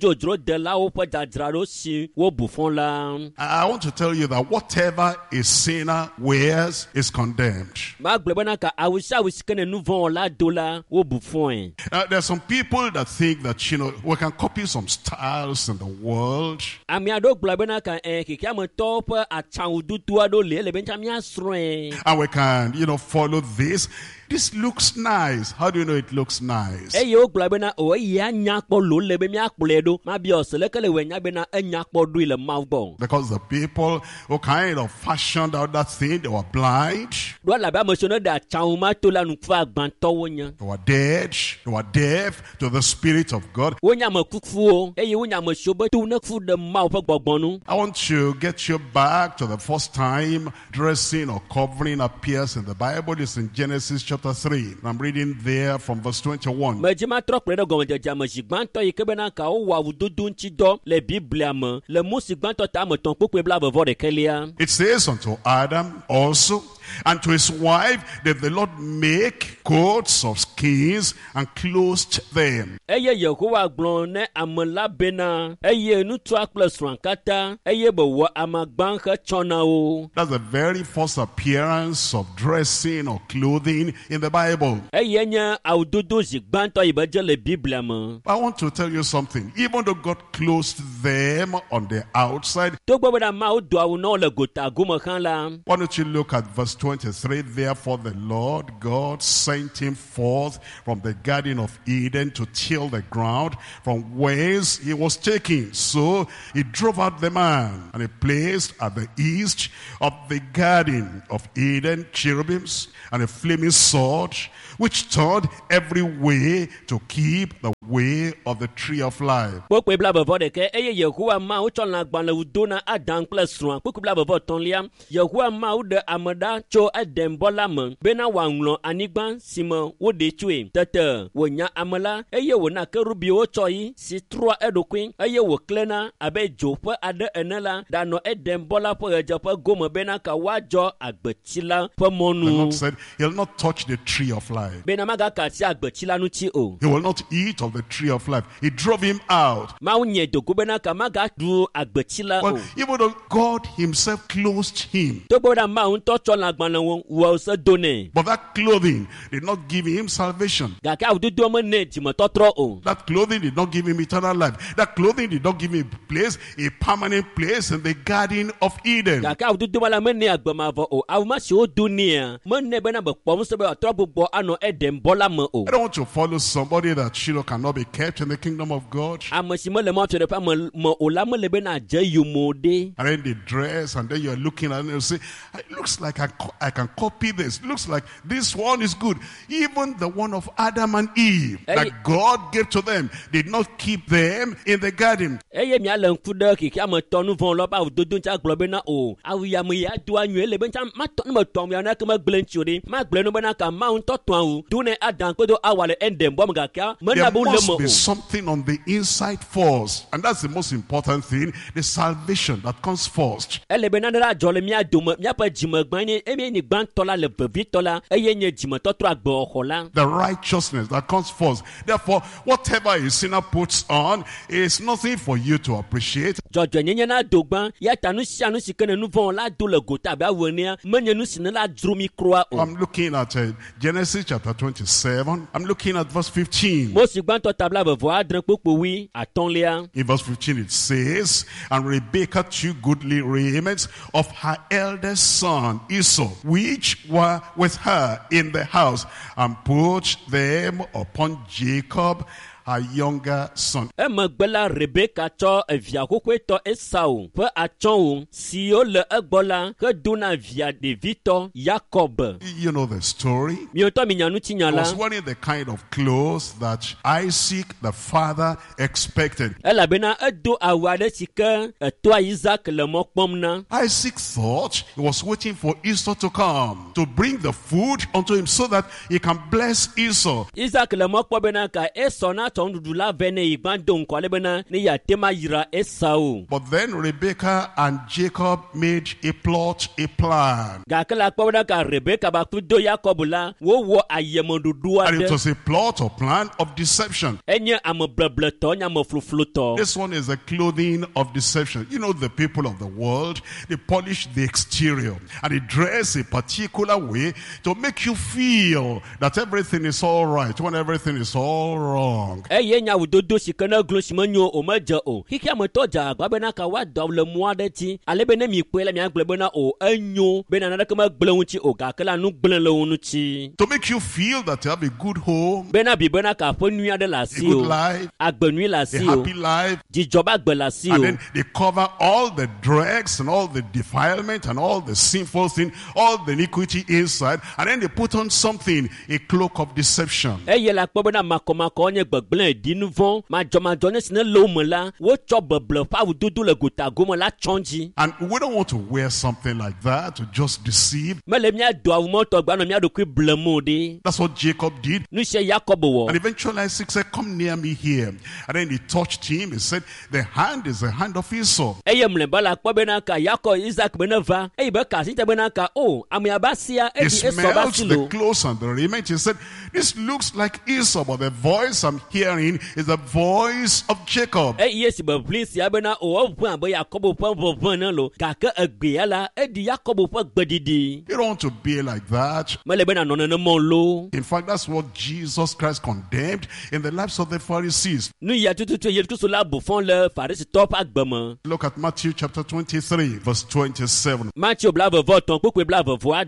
sɔlemedzodzrodelawo ƒe dzadzraɖo si wobu fɔ la. I want to tell you that whatever a sinner wears is condemned. Magblɔ bena ka awu sia awu si ke ne nu vɔ̃ wɔla do la wobu fɔe. Now, there are some people that think that, you know, we can copy some styles in the world. Ame aɖewo gblɔ bena ka xexeametɔwo ƒe atsãwududu aɖewo li ele be ŋutsa míasrɔ̃e. And we can, you know, follow this. This looks nice. How do you know it looks nice? Eye wogblɔ bena o eya nya kpɔ lo le be míakplɔe ɖo. Mabiɔ se leke le wɔ nya bena enya kpɔ ɖoe le Mawu gbɔ. Because the people who kind of fashioned out that thing, they were blind, Ɖo elabe ame siwo ne ɖe atsawu ma to la nuku agbãtɔwo nye. they were dead, they were deaf to the Spirit of God. Wonye ame kukuwo eye wonye ame siwo be to ne ku ɖe Mawu ƒe gbɔgbɔ nu. I want to get you back to the first time dressing or covering appears in the Bible. It's in Genesis chapter 3. I'm reading there there from verse 21. Medzi matrɔ kplɔe ɖe gɔmedzedzea me zi gbãtɔ yi ke bena ka wowɔ awudodo ŋuti dɔ le Biblia me le Mose gbãtɔ ta ame etɔ̃ kpukpui blaeve-vɔ-ɖekɛlia. It says, unto Adam also and to his wife did the Lord make coats of skins and clothed them. Eye Yehowa gblɔ ne ame la bena eye ŋutsua kple srɔ̃a katã eye be wɔ amagba hetsɔ na wo. That's the very first appearance of dressing or clothing in the Bible. Eye nye awudodo zi gbãtɔ yi be dze le Biblia me. I want to tell you something. Even though God clothed them on the outside, Togbɔ bena Mawu do awu na wo le gota gome hã la, why don't you look at verse 23? Therefore the Lord God sent him forth from the Garden of Eden to till the ground from whence he was taken. So he drove out the man, and he placed at the east of the Garden of Eden cherubims and a flaming sword, which turned every way to keep the way of the tree of life. Kpukpui blaeve-vɔ-ɖekɛ eye Yehowa Mawu tsɔ lãgbalẽwu do na Adam kple srɔ̃a. Kpukpui blaeve-vɔ-etɔ̃lia Yehowa Mawu ɖe ame ɖa tso Edenbɔ la me bena wòaŋlɔ anyigba si me woɖee tsoe. Tete wònya ame la eye wòna kerubiwo tsɔ yi si trɔa eɖokui eye wòklẽna abe dzo ƒe aɖe ene la ɖanɔ Edenbɔ la ƒe ɣedzeƒe gome bena ka woadzɔ agbetsi la ƒe The mɔnu. Lord said, he'll not touch the tree of life. Bena magaka asi agbetsi la ŋuti o. He will not eat of the tree of life. He drove him out. Mawu nye dogo bena ka magaɖu agbetsi la o. Well, even though God himself clothed him, Togbɔ bena Mawu ŋutɔ tsɔ lãgbalẽwo wɔ se do nɛ. but that clothing did not give him salvation. Gake awudodoa mene dzimetɔtrɔ o. That clothing did not give him eternal life. That clothing did not give him a place, a permanent place in the Garden of Eden. Gake awudodo ma la mene agbemavɔ o. Awu ma si wodo nɛa mene bena be kpɔ ŋusẽ be wòatrɔ gbugbɔ anɔ Edenbɔ la me o. I don't want to follow somebody that you know cannot be kept in the kingdom of God. Ame si mele Mawu Fiaɖuƒea me o la mele bena adze yome o ɖe. And then they dress, and then you're looking at it and you say, it looks like I can copy this. It looks like this one is good. Even the one of Adam and Eve that God gave to them did not keep them in the garden. Eye miale ŋku ɖe xexea me tɔ nu vɔ̃ lɔ ƒe awudodo ŋuti agblɔ bena o awu ya me ya do anyuie le be ŋuti matɔ ne metɔ awu ya nake megblẽ ŋuti o ɖe magblẽ nu bena ka Mawu ŋutɔ tɔ awu do ne Adam kple Awa le Edenbɔ me gake mena There be wole must me be o. something on the inside first. And that's the most important thing, the salvation that comes first. Ele be nane la dzɔ le mía dome míaƒe dzimegbã nye eye nye gbãtɔ la le vevitɔ la eye nye dzimetɔtrɔ agbewɔxɔ la. The righteousness that comes first. Therefore, whatever a sinner puts on is nothing for you to appreciate. Dzɔdzɔenyenye na do gbã ya ta nu sia nu si ke ne nu vɔ̃ la do le gota abe awu enea menye nu si ne la dzro mi kura o. I'm looking at Genesis chapter 27. I'm looking at verse 15. Mose gbãtɔ ta blaeve-vɔ-adre kpukpui wui atɔ̃lia. In verse 15 it says, and Rebekah took goodly raiments of her eldest son Esau, which were with her in the house, and put them upon Jacob, her younger son. Emegbe la Rebeka tsɔ evia xoxoetɔ Esau ƒe atsyɔ̃wo siwo le egbɔ la hedo na via ɖevitɔ Yakob. You know the story. Miawo minya ŋutinya He la. was wearing the kind of clothes that Isaac the father expected. Elabena edo awu aɖe si ke etoa Isaac le mɔ kpɔm na. Isaac thought he was waiting for Esau to come, to bring the food unto him so that he can bless Esau. Isaac le mɔ kpɔ bena ka Esau natsɔ nuɖuɖu la vɛ ne yi gbã do ŋkɔ ale bena ne yeate ma yra Esau. But then Rebekah and Jacob made a plot, a plan. Gake le akpɔ bena ka Rebeka ba kple do Yakob la wowɔ ayemeɖoɖo And it aɖe. was a plot or plan of deception. Enye ameblebletɔ, nye amefluflutɔ. This one is the clothing of deception. You know, the people of the world, they polish the exterior and they dress a particular way to make you feel that everything is all right when everything is all wrong. Eye nye awudodo si ke ne glo si menyo o medze o. Xexeametɔ dze agbagba bena ka woado awu le mɔ aɖe dzi ale be ne mikpɔe la miagblɔ bena o enyo bena naneke megblẽ ŋuti o gake la nu gblẽ le wo ŋuti. To make you feel that you have a good home, Bena bi bena ka aƒe nyui aɖe le a asi good o, life, agbe nyui le a asi o, happy life. dzidzɔ be agbe le asi And o. then they cover all the dregs and all the defilement and all the sinful thing, all the iniquity inside. And then they put on something, a cloak of deception. Eye le akpɔ bena makɔmakɔ nye gbegblẽ gblẽ ɖi nu vɔ̃ madzɔmadzɔ ne si ne le wo me la wotsɔ beble ƒe awudodo le gotagome la tsɔ dzi And we don't want to wear something like that to just deceive. Mele míado awu mɔtɔ gba nɔ mía ɖokui blem o ɖe That's what Jacob did. Nu sia Yakob wɔ And eventually Isaac said, Come near me here. And then he touched him. He said, The hand is the hand of Esau. Eye mlɔeba la kpɔ bena ka Yakob Isak be ne va eye be ka asi te bena ka o amea ba sia He eɖi Esau ba smelled si the lo clothes and the raiment. He said, This looks like Esau, but the voice I'm hearing is the voice of Jacob. Eye si be ʋli sia bena o eʋẽ abe Yakobo ƒe ʋeʋẽ ne lo gake egbea la eɖi Yakobo ƒe gbeɖiɖi You don't want to be like that. Mele be nanɔ nenema o lo In fact, that's what Jesus Christ condemned in the lives of the Pharisees. Nu ya tututu Yesu Kristu la bu fɔ le Farisitɔwo ƒe agbe me Look at Matthew chapter 23, verse 27. Mateo 23 kpukpui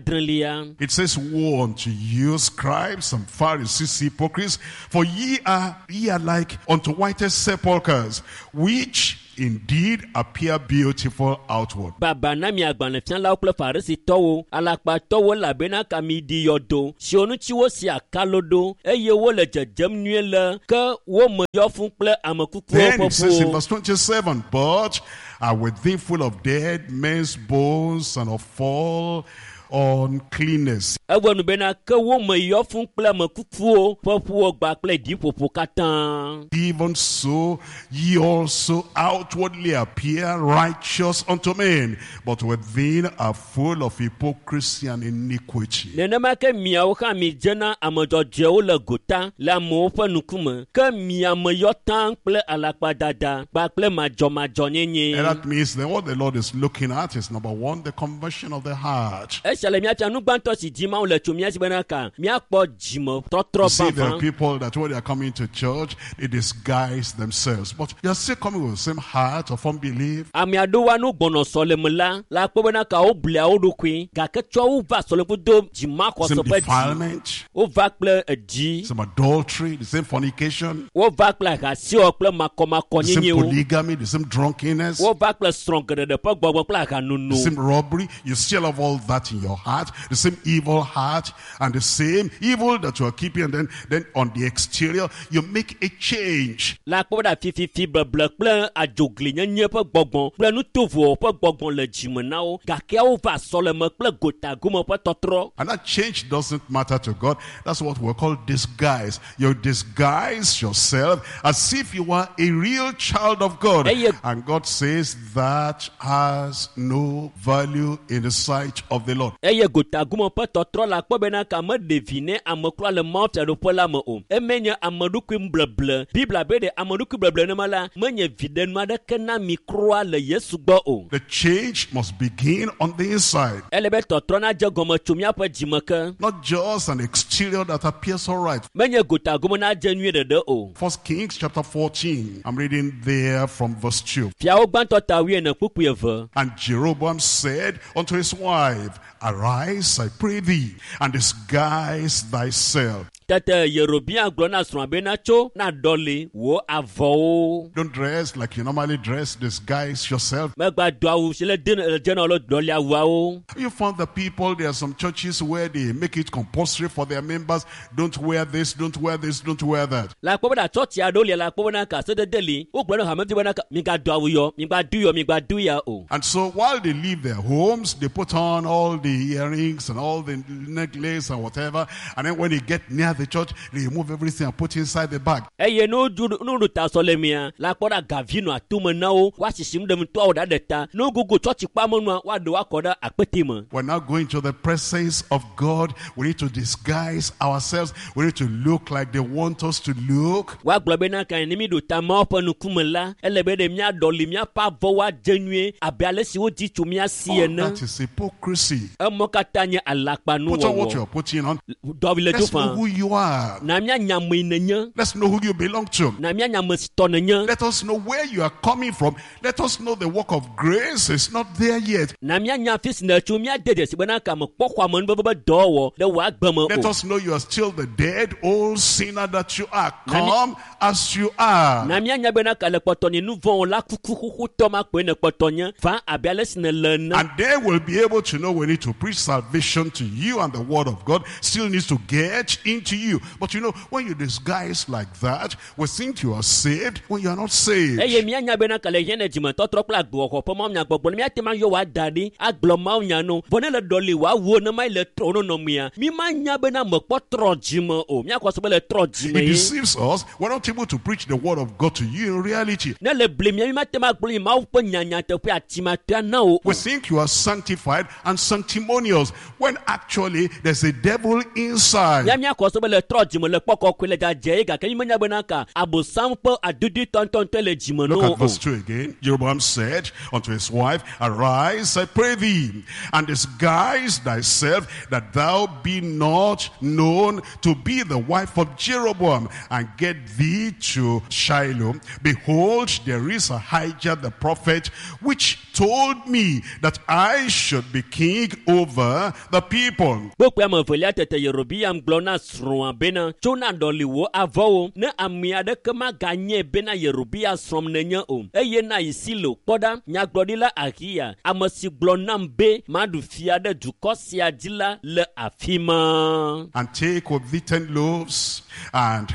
26 It says, Woe unto you, scribes and Pharisees, hypocrites, for ye are like unto whitest sepulchres, which indeed appear beautiful outward. Baba na mi agbalẽfialawo kple Farisitɔwo, alakpatɔwo elabena ka mi ɖi yɔdo siwo ŋuti wosi akalo ɖo eye wole dzedzem nyuie le ke wo me yɔ fũ kple ame kukuwo Then ƒe it says in ƒuwo. verse 27, But are within full of dead men's bones and of all uncleanness. Ewɔ nu bena ke wo me yɔ fũ kple ame kukuwo ƒe ƒuwo gba kple ɖiƒoƒo katã. Even so, ye also outwardly appear righteous unto men, but within are full of hypocrisy and iniquity. Nenema ke miawo hã mi dzena ame dzɔdzɔewo le gota le amewo ƒe ŋkume ke mia me yɔ taŋ kple alakpadada kpakple madzɔmadzɔnyenye. And that means that what the Lord is looking at is number one, the conversion of the heart. Esia le míafia nu gbãtɔ si di Mawu le tso mía si bena ka míakpɔ dzime tɔtrɔ You see, there are vavã. people that when they are coming to church, they disguise themselves. But you are still coming with the same heart of unbelief. Ame aɖewo nu gbɔnɔ sɔleme la la kpɔ bena ka woblia wo ɖokui gake tsɔ wo va sɔleme do dzimaxɔse Same ƒe dzi. defilement, Wova kple edzi. same adultery, the same fornication, Wova kple ahasiwɔ kple the same makɔmakɔnyenyewo. polygamy, the same drunkenness, Wova kple srɔ̃ geɖeɖe ƒe gbɔgbɔ kple the ahanono. same robbery. You still have all that in your heart, the same evil heart, and the same evil that you are keeping. And then on the exterior, you make a change. La kpɔ be ɖa fififi beble kple adzoglinyenye ƒe gbɔgbɔ kple nutovowo ƒe gbɔgbɔ le dzime na wo gake wova sɔleme kple gotagome ƒe tɔtrɔ. And that change doesn't matter to God. That's what we call disguise. You disguise yourself as if you were a real child of God. Hey, And God says that has no value in the sight of the Lord. Eye gotagome ƒe tɔtrɔ la kpɔ bena ka meɖe vi ne ame kura le Mawu fiaɖuƒe la me o. Eme nye ame ɖokui bleble. Biblia be ɖe ame ɖokui bleble nema la menye viɖenu aɖeke na mi kura le Yesu gbɔ o. The change must begin on the inside. Ele be tɔtrɔ nadze gɔme tso míaƒe dzime ke. Not just an exterior that appears all right. Menye gotagome nadze nyuie ɖeɖe o. First Kings chapter 14. I'm reading there from verse 2. Fiawo gbãtɔ ta 4 kpukpui 2. And Jeroboam said unto his wife, Arise, I pray thee, and disguise thyself. Tete Yerobeam gblɔ na srɔ̃a bena tso na ɖɔli wò avɔwo. Don't dress like you normally dress. Disguise yourself. Megba do awu si le dze na wo le ɖɔli awuawo. You found the people, there are some churches where they make it compulsory for their members. Don't wear this, don't wear this, don't wear that. La kpɔ bena tsɔtsi aɖewo lia la kpɔ bena ka sedede li wogblɔ na hamevi bena ka migado awu yɔ migba do yɔ migba do ya o. And so while they leave their homes, they put on all the earrings and all the necklace and whatever. And then when they get near the church, they remove everything and put inside the bag. Eye ne wodu ne woɖo ta sɔlemea la kpɔ ɖa gavi nɔ atome na wo woasisim ɖe ŋutɔawo ɖa ɖe ta ne wogogo tsɔtsi kpamenua woaɖe woakɔ ɖe akpete me. We're now going to the presence of God. We need to disguise ourselves. We need to look like they want us to look. Woagblɔ bena ka ne mi ɖo ta Mawu ƒe ŋkume la ele be ɖe míaɖɔli míaƒe avɔwo adze nyuie abe ale si wodzi tso mía si All ene. that is hypocrisy. Emɔ katã nye Put on what alakpanuwɔwɔ. you're putting on. Dɔwi le do Let's know fã. who you are. Na míanya ame yi nenye. Let's know who you belong to. Na míanya ame si tɔ nenye. Let us know where you are coming from. Let us know the work of grace is not there yet. Na míanya afi si nètso míade dzesi bena ka mekpɔ xɔ amenuveve be dɔwɔwɔ ɖe wò agbe me Let o. us know you are still the dead old sinner that you are. Come as you are. Na míanya bena ka le kpɔtɔ nye nu vɔ̃wo la kuku xoxotɔ ma koe ne kpɔtɔ nye va abe ale si nèle ene. And then we'll be able to know we need to preach salvation to you, and the word of God still needs to get into you. But you know, when you disguise like that, we think you are saved when you are not saved. Eye míanya bena ke le hiã ne dzimetɔtrɔ kple agbewɔxɔ ƒe mawunyagbɔgblɔ ne míate ma yɔ wòada ɖi agblɔ mawunya no vɔ ne le ɖɔli wòawuwo ne ma yi le trɔ wo nɔnɔmea mi ma nya bena mekpɔ trɔ dzime o míakɔ se be le trɔ dzime It ye deceives us. We're not able to preach the word of God to you in reality. Ne le bli mia mi mate ma gblɔ yi mawu ƒe nyanyateƒe atimatea na wo We think you are sanctified and sanctimonious when actually there's a devil inside. Mía míakɔ se be le trɔ dzime le kpɔ kɔkɔe le dzadze ye gake mi menya bena ka abosam ƒe adudi tɔntɔntɔe le dzime Look no at o verse 2 again. Jeroboam said unto his wife, Arise, I pray thee, and disguise thyself, that thou be not known to be the wife of Jeroboam, and get thee to Shiloh. Behold, there is Ahijah the prophet, which told me that I should be king over the people. Kpokpoe ame evelia tete Yerobeam gblɔ na srɔ̃a bena tso na ɖɔli wò avɔwo ne ame aɖeke maganye bena Yerobea srɔ̃m nenye o eye na yi Silo kpɔ ɖa nyagblɔɖila Ahiya ame si gblɔ nam be maɖu fia ɖe dukɔ sia dzi la le afi ma. And take with thee 10 loaves and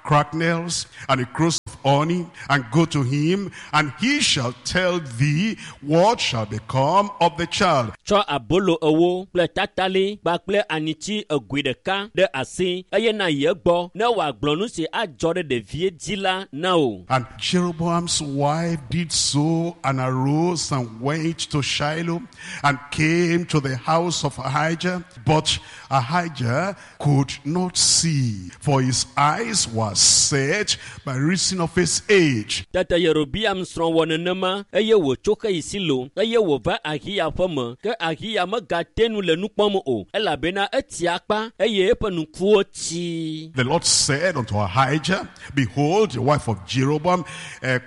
cracknels and a cruse of honey, and go to him, and he shall tell thee what shall become of the child. Tsɔ abolo ewo kple tatali kpakple anitsi egoe ɖeka ɖe asi eye na yi egbɔ ne wòagblɔ nu si adzɔ ɖe ɖevie dzi la na wò. And Jeroboam's wife did so, and arose and went to Shiloh, and came to the house of Ahijah. But Ahijah could not see, for his eyes were set by reason of his age. Tete Yerobeam srɔ̃ wɔ nenema eye wòtso xeyi Silo eye wòva Ahiya ƒe me ke Ahiya megate nu le nu kpɔm o elabena etsi akpa eye eƒe ŋkuwo tsi. The Lord said unto Ahijah, Behold, the wife of Jeroboam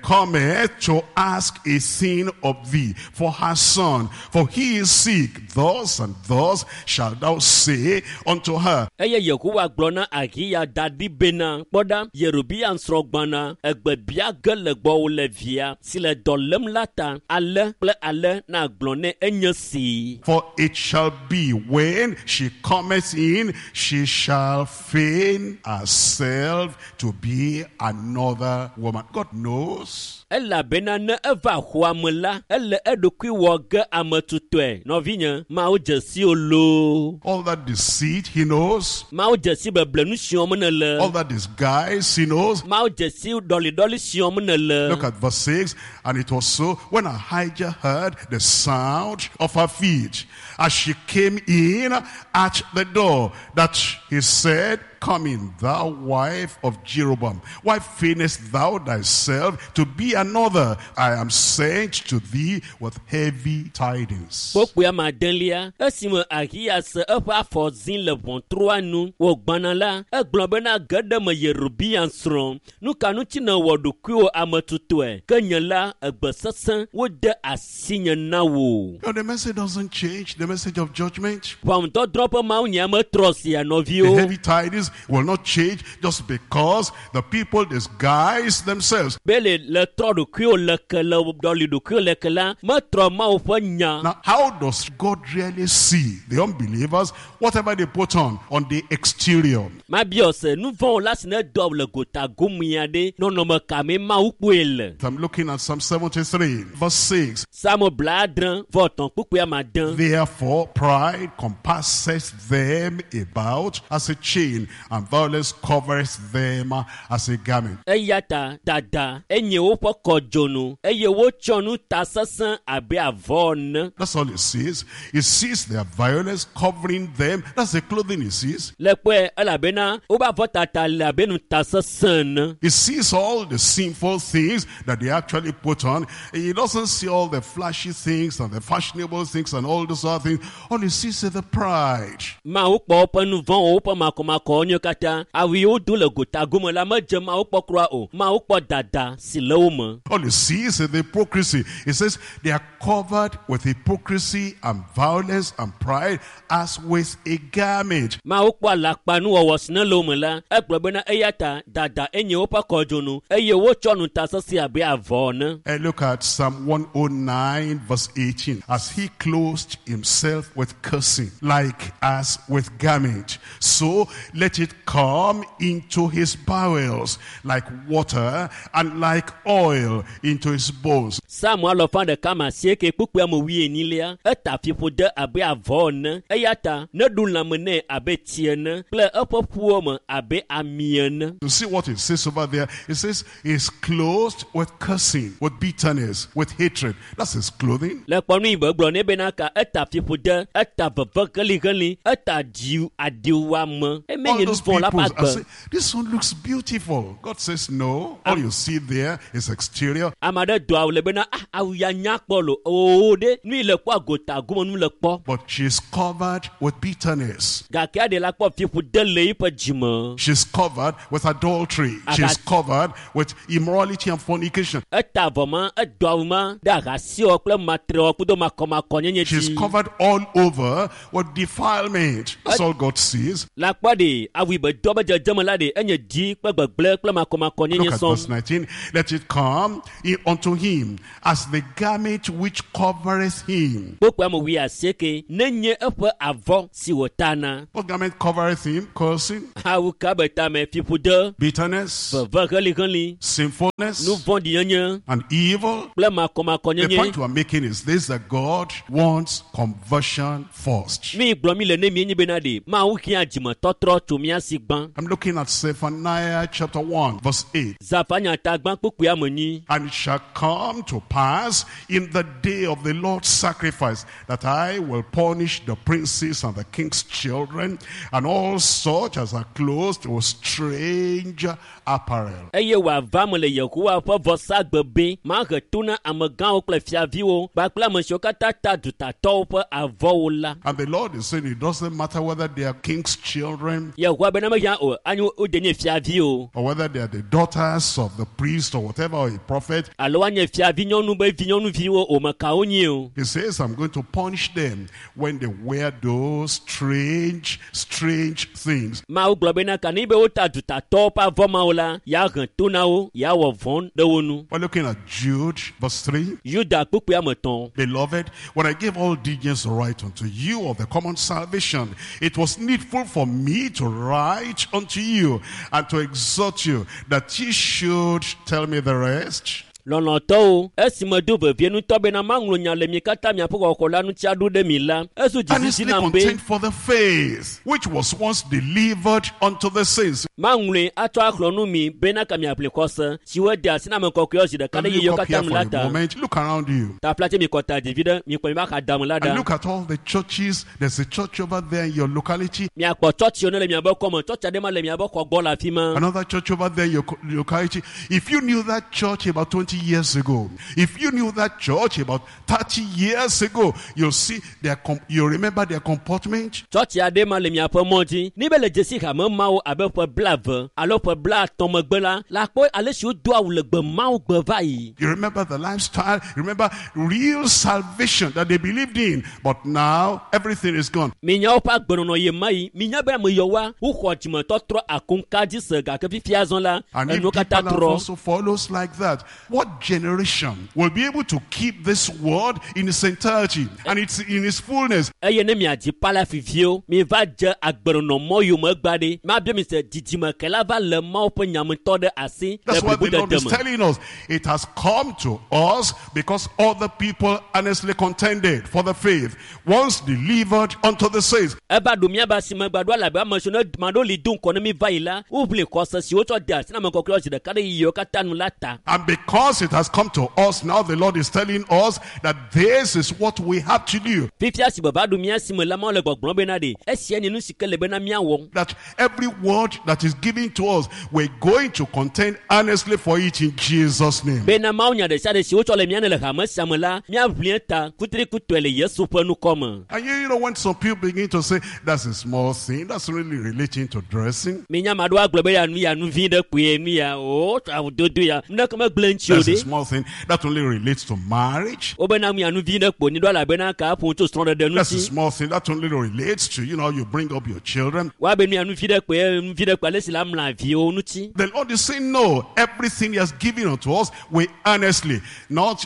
cometh to ask a thing of thee for her son, for he is sick. Thus and thus shalt thou say unto her. Eye Yehowa gblɔ na Ahiya da ɖi bena kpɔ ɖa Yerobeam srɔ̃ gbɔna egbe bia ge le gbɔwò le via si le dɔ lém la ta ale kple ale na gblɔ nɛ enye si. For it shall be when she cometh in, she shall feign herself to be another woman. God knows. Elabena ne eva xɔa me la, ele eɖokui wɔ ge ame tutɔe. Nɔvinye, Mawu dze si wo loo. All that deceit, he knows. Mawu dze si beble nu si wɔm nèle. All that disguise, he knows. Mawu dze si ɖɔliɖɔli si wɔm nèle. Look at verse 6. And it was so when Ahijah heard the sound of her feet as she came in at the door, that he said, Come in, thou wife of Jeroboam. Why feignest thou thyself to be another? I am sent to thee with heavy tidings. Kpokpoe ame adelia esime Ahiya se eƒe afɔ zi le ʋɔtrua nu wògbãna la, egblɔ bena ge ɖe me Yerobeam srɔ̃. Nu ka ŋuti nèwɔ ɖokuiwò ame tutɔe? Ke nye la, egbe sesẽ wode asinye na wò. Now, the message doesn't change, the message of judgment. Ʋɔnudɔdrɔ̃ ƒe mawunya metrɔ sia The nɔviwo. heavy tidings will not change just because the people disguise themselves. Be le le trɔ ɖokuiwò le ke le ɖɔli ɖokuiwò le ke la, metrɔ Mawu ƒe nya. Now, how does God really see the unbelievers, whatever they put on the exterior? Mabiɔ se nu vɔ̃wo la si ne dɔ le gota gomea ɖe nɔnɔme ka mee Mawu kpɔe le. I'm looking at Psalm 73, verse 6. Psalm 70 kpukpui ame ade. Therefore, pride compasseth them about as a chain, and violence covereth them as a garment. Eya ta dada enye woƒe kɔdzonu eye wotsɔ nu ta sesẽ abe avɔ ene. That's all he sees. He sees their violence covering them. That's the clothing he sees. Le kpɔe elabena woƒe avɔtata le abe nu ta sesẽ ene. He sees all the sinful things that they actually put on. He doesn't see all the flashy things and the fashionable things and all those other things. All he sees is the pride. Mawu kpɔ woƒe nu vɔ̃wo, woƒe makɔmakɔwo nyo katã. Awu yi wodo le gota gome la medze Mawu kpɔ kura o. Mawu kpɔ dada si le wo me. All he sees is the hypocrisy. He says they are covered with hypocrisy and violence and pride as with a garment. Mawu kpɔ alakpanuwɔwɔ si ne le wo me la, egblɔ bena eya ta dada enye woƒe kɔdzonu eye wotsɔ nu ta sesẽ abe avɔ ene. And look at Psalm 109 verse 18. As he clothed himself with cursing, like as with garment, so let Let it come into his bowels like water and like oil into his bones. Psalm alɔfa ɖeka ma asieke kpukpui ame wuienyilia eta fiƒode abe avɔ ene eya ta neɖu lãme nɛ abe tsi ene kple eƒe ƒuwo me abe ami ene. You see what it says over there? It says he's clothed with cursing, with bitterness, with hatred. That's his clothing. Le kpɔnu yi be gblɔ nɛ bena ka eta fiƒode eta veve helihelĩ eta dzi adiwuame All emenye those nuvɔ la people ƒe are agbe. saying, this one looks beautiful. God says, no. All you see there is exterior. Ame aɖe do awu le bena ah awu ya nya kpɔ lo oo ɖe nu yi le kpɔ agota gome nu le kpɔ. But she's covered with bitterness. Gake aɖe la kpɔ fiƒode le eƒe dzime. She's covered with adultery. She's covered with immorality and fornication. Eta avɔ ma edo awu ma ɖe ahasiwɔ kple matrewɔ kudo makɔmakɔnyenye She's dzi. covered all over with defilement. That's all God sees. La kpɔ ɖe awu yi be do be dzedzeme la ɖe enye dzi kple gbegblẽ kple makɔmakɔnyenye Look at verse sɔŋ. 19. Let it come in unto him as the garment which covereth him. Kpokpo ame wuiasieke nenye eƒe avɔ si wòtana. What garment covereth him? Cursing, Awu ka be tame fiƒode, bitterness, veve helihelĩ, sinfulness, nu vɔ̃ɖinyenye and evil. kple The makɔmakɔnyenye. point we are making is this, that God wants conversion first. Nu yi gblɔm mi le ne mi enye bena ɖe Mawu hiã dzimetɔtrɔ tso mía si gbã. I'm looking at Zephaniah chapter 1, verse 8. Zafanya ta gbã kpukpui ame nyi. And it shall come to pass in the day of the Lord's sacrifice that I will punish the princes and the king's children and all such as are clothed with strange apparel. Eye wòava me le Yehowa ƒe vɔsagbe be mahe to na amegãwo kple fiaviwo kpakple ame siwo katã ta dutatɔwo ƒe avɔwo la. And the Lord is saying it doesn't matter whether they are king's children Yehowa bena mehiã o anyi wode nye fiavi o or whether they are the daughters of the priest or whatever, or a prophet. alo woanye fiavi nyɔnu be vinyɔnuviwo o meka wonye o. He says, I'm going to punish them when they wear those strange, strange things. Mawu gblɔ bena ka ne be wota dutatɔwo ƒe avɔ mawo la, yeahe to na wo, yeawɔ vɔ̃ ɖe wo nu. We're looking at Jude, verse 3. Yuda kpukpui ame etɔ̃. Beloved, when I gave all diligence to write unto you of the common salvation, it was needful for me to write unto you and to exhort you that ye should tell me the rest. Lɔlɔ̃tɔwo, esi medo vevie ŋutɔ bena maŋlɔ nya le mi katã miaƒe xɔxɔ la ŋuti aɖo ɖe mi la, ezu dzizidzi Earnestly nam be contend for the faith, which was once delivered unto the saints. maŋlɔe atsɔ axlɔ nu mi bena ka miaʋli xɔse si wode asi na ame kɔkɔewo zi ɖeka And ɖe look yeyewo up katã here nu for la a ta. moment. Look around you. Taflatse mi kɔta ɖevi ɖe mikpɔ mi va xa dame la And ɖa. look at all the churches. There's a church over there in your locality. Miakpɔ tsɔtsiwo ne le miabe kɔme, tsɔtsi aɖe ma le miabe xɔ gbɔ le afi ma. Another church over there in your locality. If you knew that church about 20 years ago, if you knew that church about 30 years ago, you'll see their, you'll remember their comportment. Tsɔtsi aɖe ma le miaƒe mɔ dzi. Ni be le dzesi hame mawo abe ƒe 20 alo ƒe 50 megbe la, la kpɔ ale si wodo awu le gbe mawo gbe va yi. You remember the lifestyle. You remember real salvation that they believed in. But now everything is gone. Minya woƒe agbenɔnɔ ye ma yi. Minya be ame yɔwoa, woxɔ dzimetɔtrɔ akoŋka dzi se gake fifia zɔ la, And if enuwo katã Deeper Life trɔ. also follows like that, what generation will be able to keep this word in its entirety and it's in its fullness? Eye ne miadzi palafi viwo, miva dze agbenɔnɔ mɔ yome gba ɖe. Mabia mi se dzidzime ke la va le Mawu ƒe nyametɔ ɖe asi le That's what the Lord blibodede is me. telling us. It has come to us because other people earnestly contended for the faith, once delivered unto the saints. Eva ɖo míabe asime gbaɖo elabe ame siwo ne ma ɖewo li do ŋgɔ ne mi va yi la, woʋli xɔse si wotsɔ de asi na ame kɔkɔewo zi ɖeka ɖe yiyiwo katã nu la ta. And because it has come to us now, the Lord is telling us that this is what we have to do. Fifia si be va ɖo mía si me la, Mawu le gbɔgblɔm bena ɖe esia nye nu si ke le bena míawɔ. That every word that is given to us, we're going to contend earnestly for it in Jesus' name. Bena Mawu nya ɖe sia ɖe si wotsɔ le mía ne le hame sia me la, míaʋli eta kutrikutɔe le Yesu ƒe nukɔ me. And you know, when some people begin to say, that's a small thing, that's really relating to dressing. Minya ame aɖewo agblɔ be ya nu ya nu vi ɖe kpoe nu ya o awudodo ya nu ɖeke megblẽ ŋuti o That's That's a ɖe small thing. That only relates to marriage. Wobena mia nu vi ɖe kpo ni ɖo elabena ka ƒo tso srɔ̃ɖeɖe That's a ŋuti small thing. That only relates to, you know, you bring up your children. Woabe nu ya nu vi ɖe kpoe nu vi ɖe kpo ale si la mla viwo ŋuti The Lord is saying, no, everything He has given unto us, we earnestly, not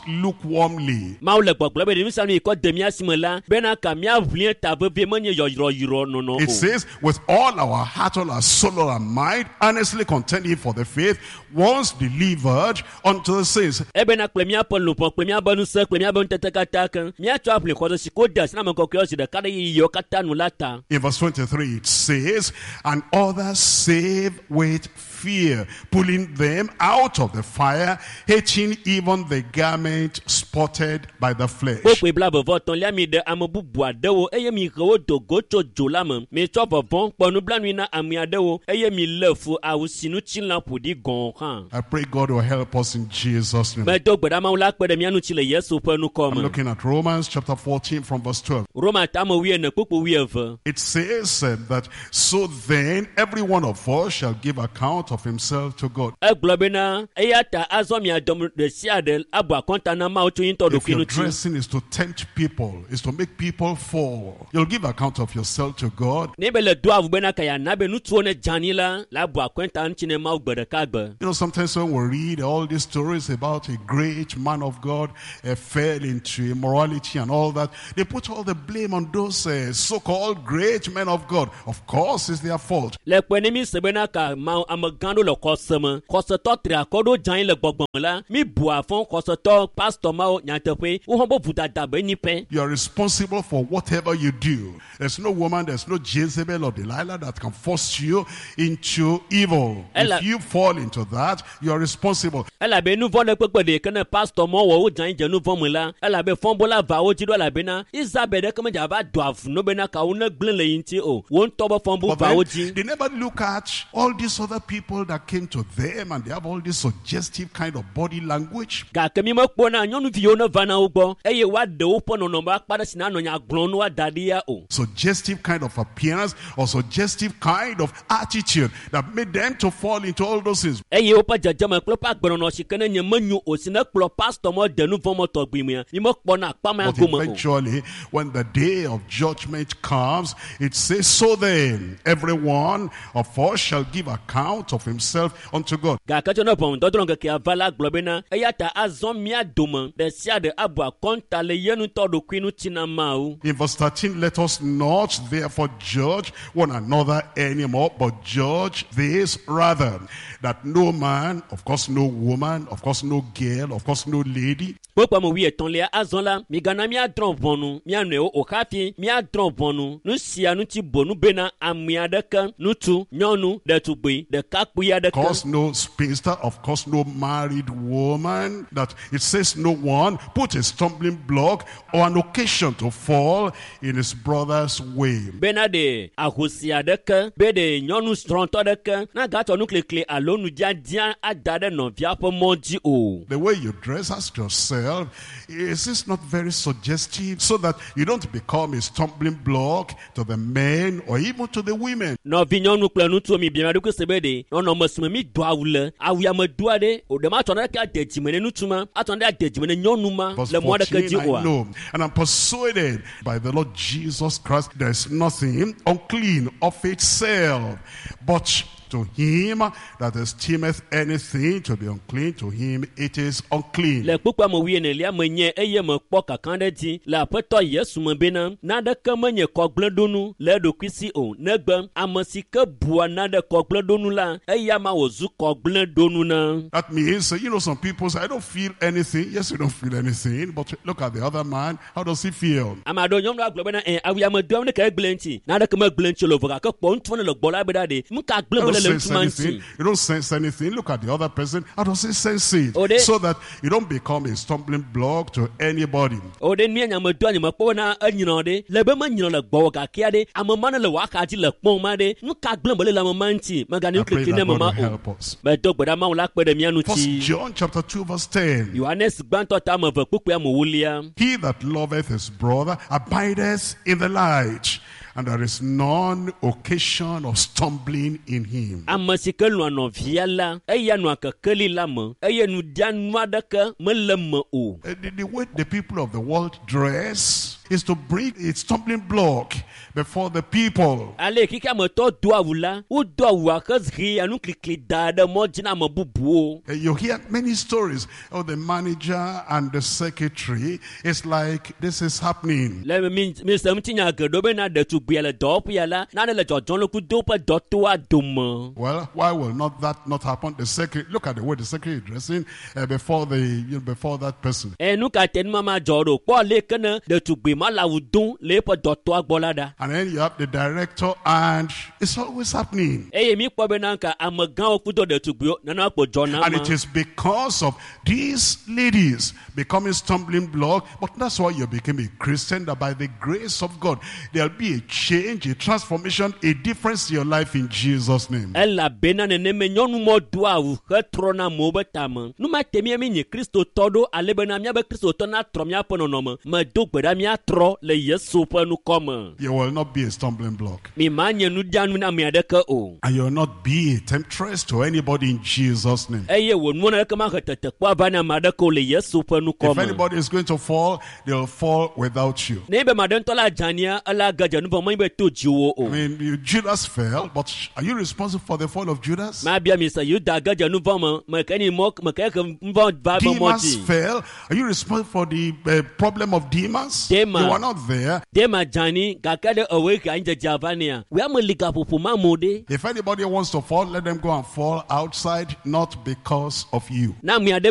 lukewarmly. Mawu le gbɔgblɔ be ɖe nu sia nu yi kɔ de mía si me la bena ka míaʋlie ta vevie menye yɔyrɔyrɔ nɔnɔ It o says, with all our heart, all our soul, all our mind, earnestly contending for the faith, once delivered unto the saints. Ebena kple míaƒe luʋɔ kple míaƒe ŋusẽ kple míaƒe ŋutete katã ke míatsɔ aʋli xɔse si ko de asi na ame kɔkɔewo zi ɖeka ɖe yiyiwo katã nu la ta In verse 23, it says, and others save with fear, pulling them out of the fire, hating even the garment spotted by the flesh. Kpokpoe 23lia mi ɖe ame bubu aɖewo eye mi he wo do go tso dzo la me mitsɔ vɔvɔ̃ kpɔ nublanui na ame aɖewo eye mi lé fu awu si ŋutilã ƒo ɖi gɔ̃ hã I pray God will help us in Jesus' name. Medo gbe ɖa Mawu la kpe ɖe mía ŋuti le Yesu ƒe ŋkɔ I'm me looking at Romans chapter 14 from verse 12. Roma tame 14 kpukpu 12 It says that, so then every one of us shall give account of himself to God. Egblɔ bena eya ta azɔ mia dɔm ɖe sia ɖe abu akɔnta na Mawu tso ye ŋutɔ If ɖokui your ŋuti dressing is to tempt people, is to make people fall, you'll give account of yourself to God. Ne be le do awu bena ka yeana be ŋutsuwo ne dze anyi la la abu akɔnta ŋuti ne Mawu gbe ɖeka gbe You know, sometimes when we read all these stories about a great man of God fell into immorality and all that, they put all the blame on those so-called great men of God. Of course, it's their fault. Le kpe ne mi se bena ka ma amegã ɖo le xɔse me xɔsetɔ tri akɔ ɖo dze anyi le gbɔgbɔ me la mi bu afɔ xɔsetɔ pastɔ mawo nyateƒe wo hã be vodada be nyi pɛ You are responsible for whatever you do. There's no woman, there's no Jezebel or Delilah that can force you into evil. Ella- If you fall into that, you are responsible. Elabe nu vɔ ɖe kpekpe ɖe ke ne pastɔ mɔ wɔ wo dze anyi dze nu vɔ me la elabe fɔbola va wo dzi ɖo elabena Isabel ɖeke medze va do avu no bena ka wo ne gblẽ le yi ŋuti o wo ŋutɔ be fɔbu But va wo then, dzi they never look at all these other people that came to them and they have all this suggestive kind of body language. Gake mi mekpɔna nyɔnuviwo ne va na wo gbɔ eye woaɖe woƒe nɔnɔme akpa ɖe si nanɔ nya gblɔm ne woada ɖi ya o Suggestive kind of appearance or suggestive kind of attitude that made them to fall into all those things. Eye woƒe dzedzeme kple woƒe agbenɔnɔ si ke ne nye menyo o si ne kplɔ pastɔ mɔ de nu vɔ mɔ tɔgbi mea mi mekpɔna akpa mea But gome o eventually, when the day of judgment comes, it says, so then, every one of us shall give account of himself unto God. Gake tso ne ʋɔnudɔdrɔ̃ ŋkekea va la gblɔ bena eya ta azɔ mía dome ɖe sia ɖe abu akɔnta le ye ŋutɔ ɖokui ŋuti na Mawu In verse 13, let us not therefore judge one another anymore, but judge this rather, that no man, of course no woman, of course no girl, of course no lady, Kpokpo ame 33lia azɔ la migana míadrɔ̃ ʋɔnu mía nɔewo o hafi míadrɔ̃ ʋɔnu nu sia ŋuti bonu bena ame aɖeke ŋutsu nyɔnu ɖetugbui ɖekakpui of aɖeke course no spinster, of course no married woman, that it says no one put a stumbling block or an occasion to fall in his brother's way. Bena ɖe ahosi aɖeke be ɖe nyɔnu srɔ̃tɔ aɖeke nagatsɔ nuklikli alo nudzadzia ada ɖe nɔvia ƒe mɔ dzi o The way you dress, ask yourself, is this not very suggestive so that you don't become a stumbling block to the men or even to the women? Nɔvi nyɔnu kple ŋutsuwo mi bia mia ɖokui se be ɖe nɔnɔme si me mi do awu le awu ya me doa ɖe o ɖe ma tsɔ naneke ade dzime ne ŋutsu ma atsɔ naneke ade dzime ne nyɔnu ma Verse le mɔ aɖeke 14, dzi I oa know, and I'm persuaded by the Lord Jesus Christ, there is nothing unclean of itself, but to him that esteemeth anything to be unclean, to him it is unclean. Le kpukpua me 14lia me nye eye mekpɔ kaka ɖe dzi le aƒetɔ Yesu me bena naneke menye kɔgblẽɖonu le eɖokui si o negbe ame si ke bua nane kɔgblẽɖonu la eya ma wòzu kɔgblẽɖonu na That means, you know, some people say, I don't feel anything. Yes, you don't feel anything, but look at the other man. How does he feel? Ame aɖewo nyɔnu agblɔ bena ɛ awu ya me doam ne ke egblẽ ŋuti naneke megblẽ ŋuti o le vɔ gake kpɔ ŋutsu ne le gbɔ la be ɖa ɖe nu ka gblẽ You me don't le le sense ŋutsu ma anything. ŋuti You don't sense anything. Look at the other person. How does he sense it? Oh, they- So that you don't become a stumbling block to anybody. O ɖe nu ya nya me doa nye mekpɔ bena enyrɔ ɖe le be menyrɔ le gbɔwɔ gakea ɖe ame ma ne le wò axa dzi le kpɔm ma ɖe nu ka gblẽ me le le ame ma ŋuti megane I pray nuklikli ne that ame God ma will o help us. medo gbe ɖa Mawu la kpe ɖe mía First ŋuti John chapter 2 verse 10. Yohanes gbãtɔ ta ame eve kpukpui ame ewolia He that loveth his brother abideth in the light, and there is none occasion of stumbling in him. Ame si ke lɔ̃a nɔvia la, eya nɔa kekeli la me eye nudianu aɖeke mele me o. The way the people of the world dress is to bring a stumbling block before the people. Ale yi xexeametɔ doa awu la, wodoa awua hehea nuklikli da ɖe mɔ dzi na ame bubuwo. You hear many stories of the manager and the secretary. It's like this is happening. Le mi mi se ŋutinya geɖewo bena ɖetugbia le dɔwɔƒea la, nane le dzɔdzɔm le kudo woƒe dɔtoa dome. Well, why will not that not happen? The secretary, look at the way the secretary is dressing before the you know, before that person. Eye nu ka te nu ma ma dzɔ ɖo? Kpɔ ale ke ne ɖetugbi ma le awu dom le eƒe dɔtɔa gbɔ la ɖa. And then you have the director, and it's always happening. Eye mi kpɔ bena ka amegãwo kudo ɖetugbiwo nana kpo dzɔna And ma. it is because of these ladies becoming stumbling block. But that's why you became a Christian, that by the grace of God, there'll be a change, a transformation, a difference in your life in Jesus' name. Elabena neneme nyɔnumɔ doa awu hetrɔna amewo be tame. Nu ma te mía mi nye kristotɔ ɖo ale bena míabe kristotɔ natrɔ míaƒe nɔnɔme. Medo gbe ɖa míatrɔ le Yesu ƒe ŋkɔ me. You will not be a stumbling block. Mi ma nye nudianu na ame aɖeke o. And you will not be a temptress to anybody in Jesus' name. Eye wò nuwɔna aɖeke mahe tetekpɔ ava na ame aɖeke o le Yesu ƒe ŋkɔ If me. anybody is going to fall, they'll fall without you. Ne be ame aɖe ŋutɔ la dzania, ela ge dze nu vɔ̃ menye be to dziwò o. I mean, Judas fell, but are you responsible for the fall of Judas? Mabia mi se Yuda ge dze nu vɔ̃ me, meke ni mɔ meke he nu vɔ̃ va be mɔ Demas dzi. fell. Are you responsible for the problem of Demas? Demas. You are not there. Dema dzani gake ɖe ewoe he anyidzedze va nea. Wòya me li gaƒoƒo ma amewo ɖe. If anybody wants to fall, let them go and fall outside, not because of you. Na ame aɖe be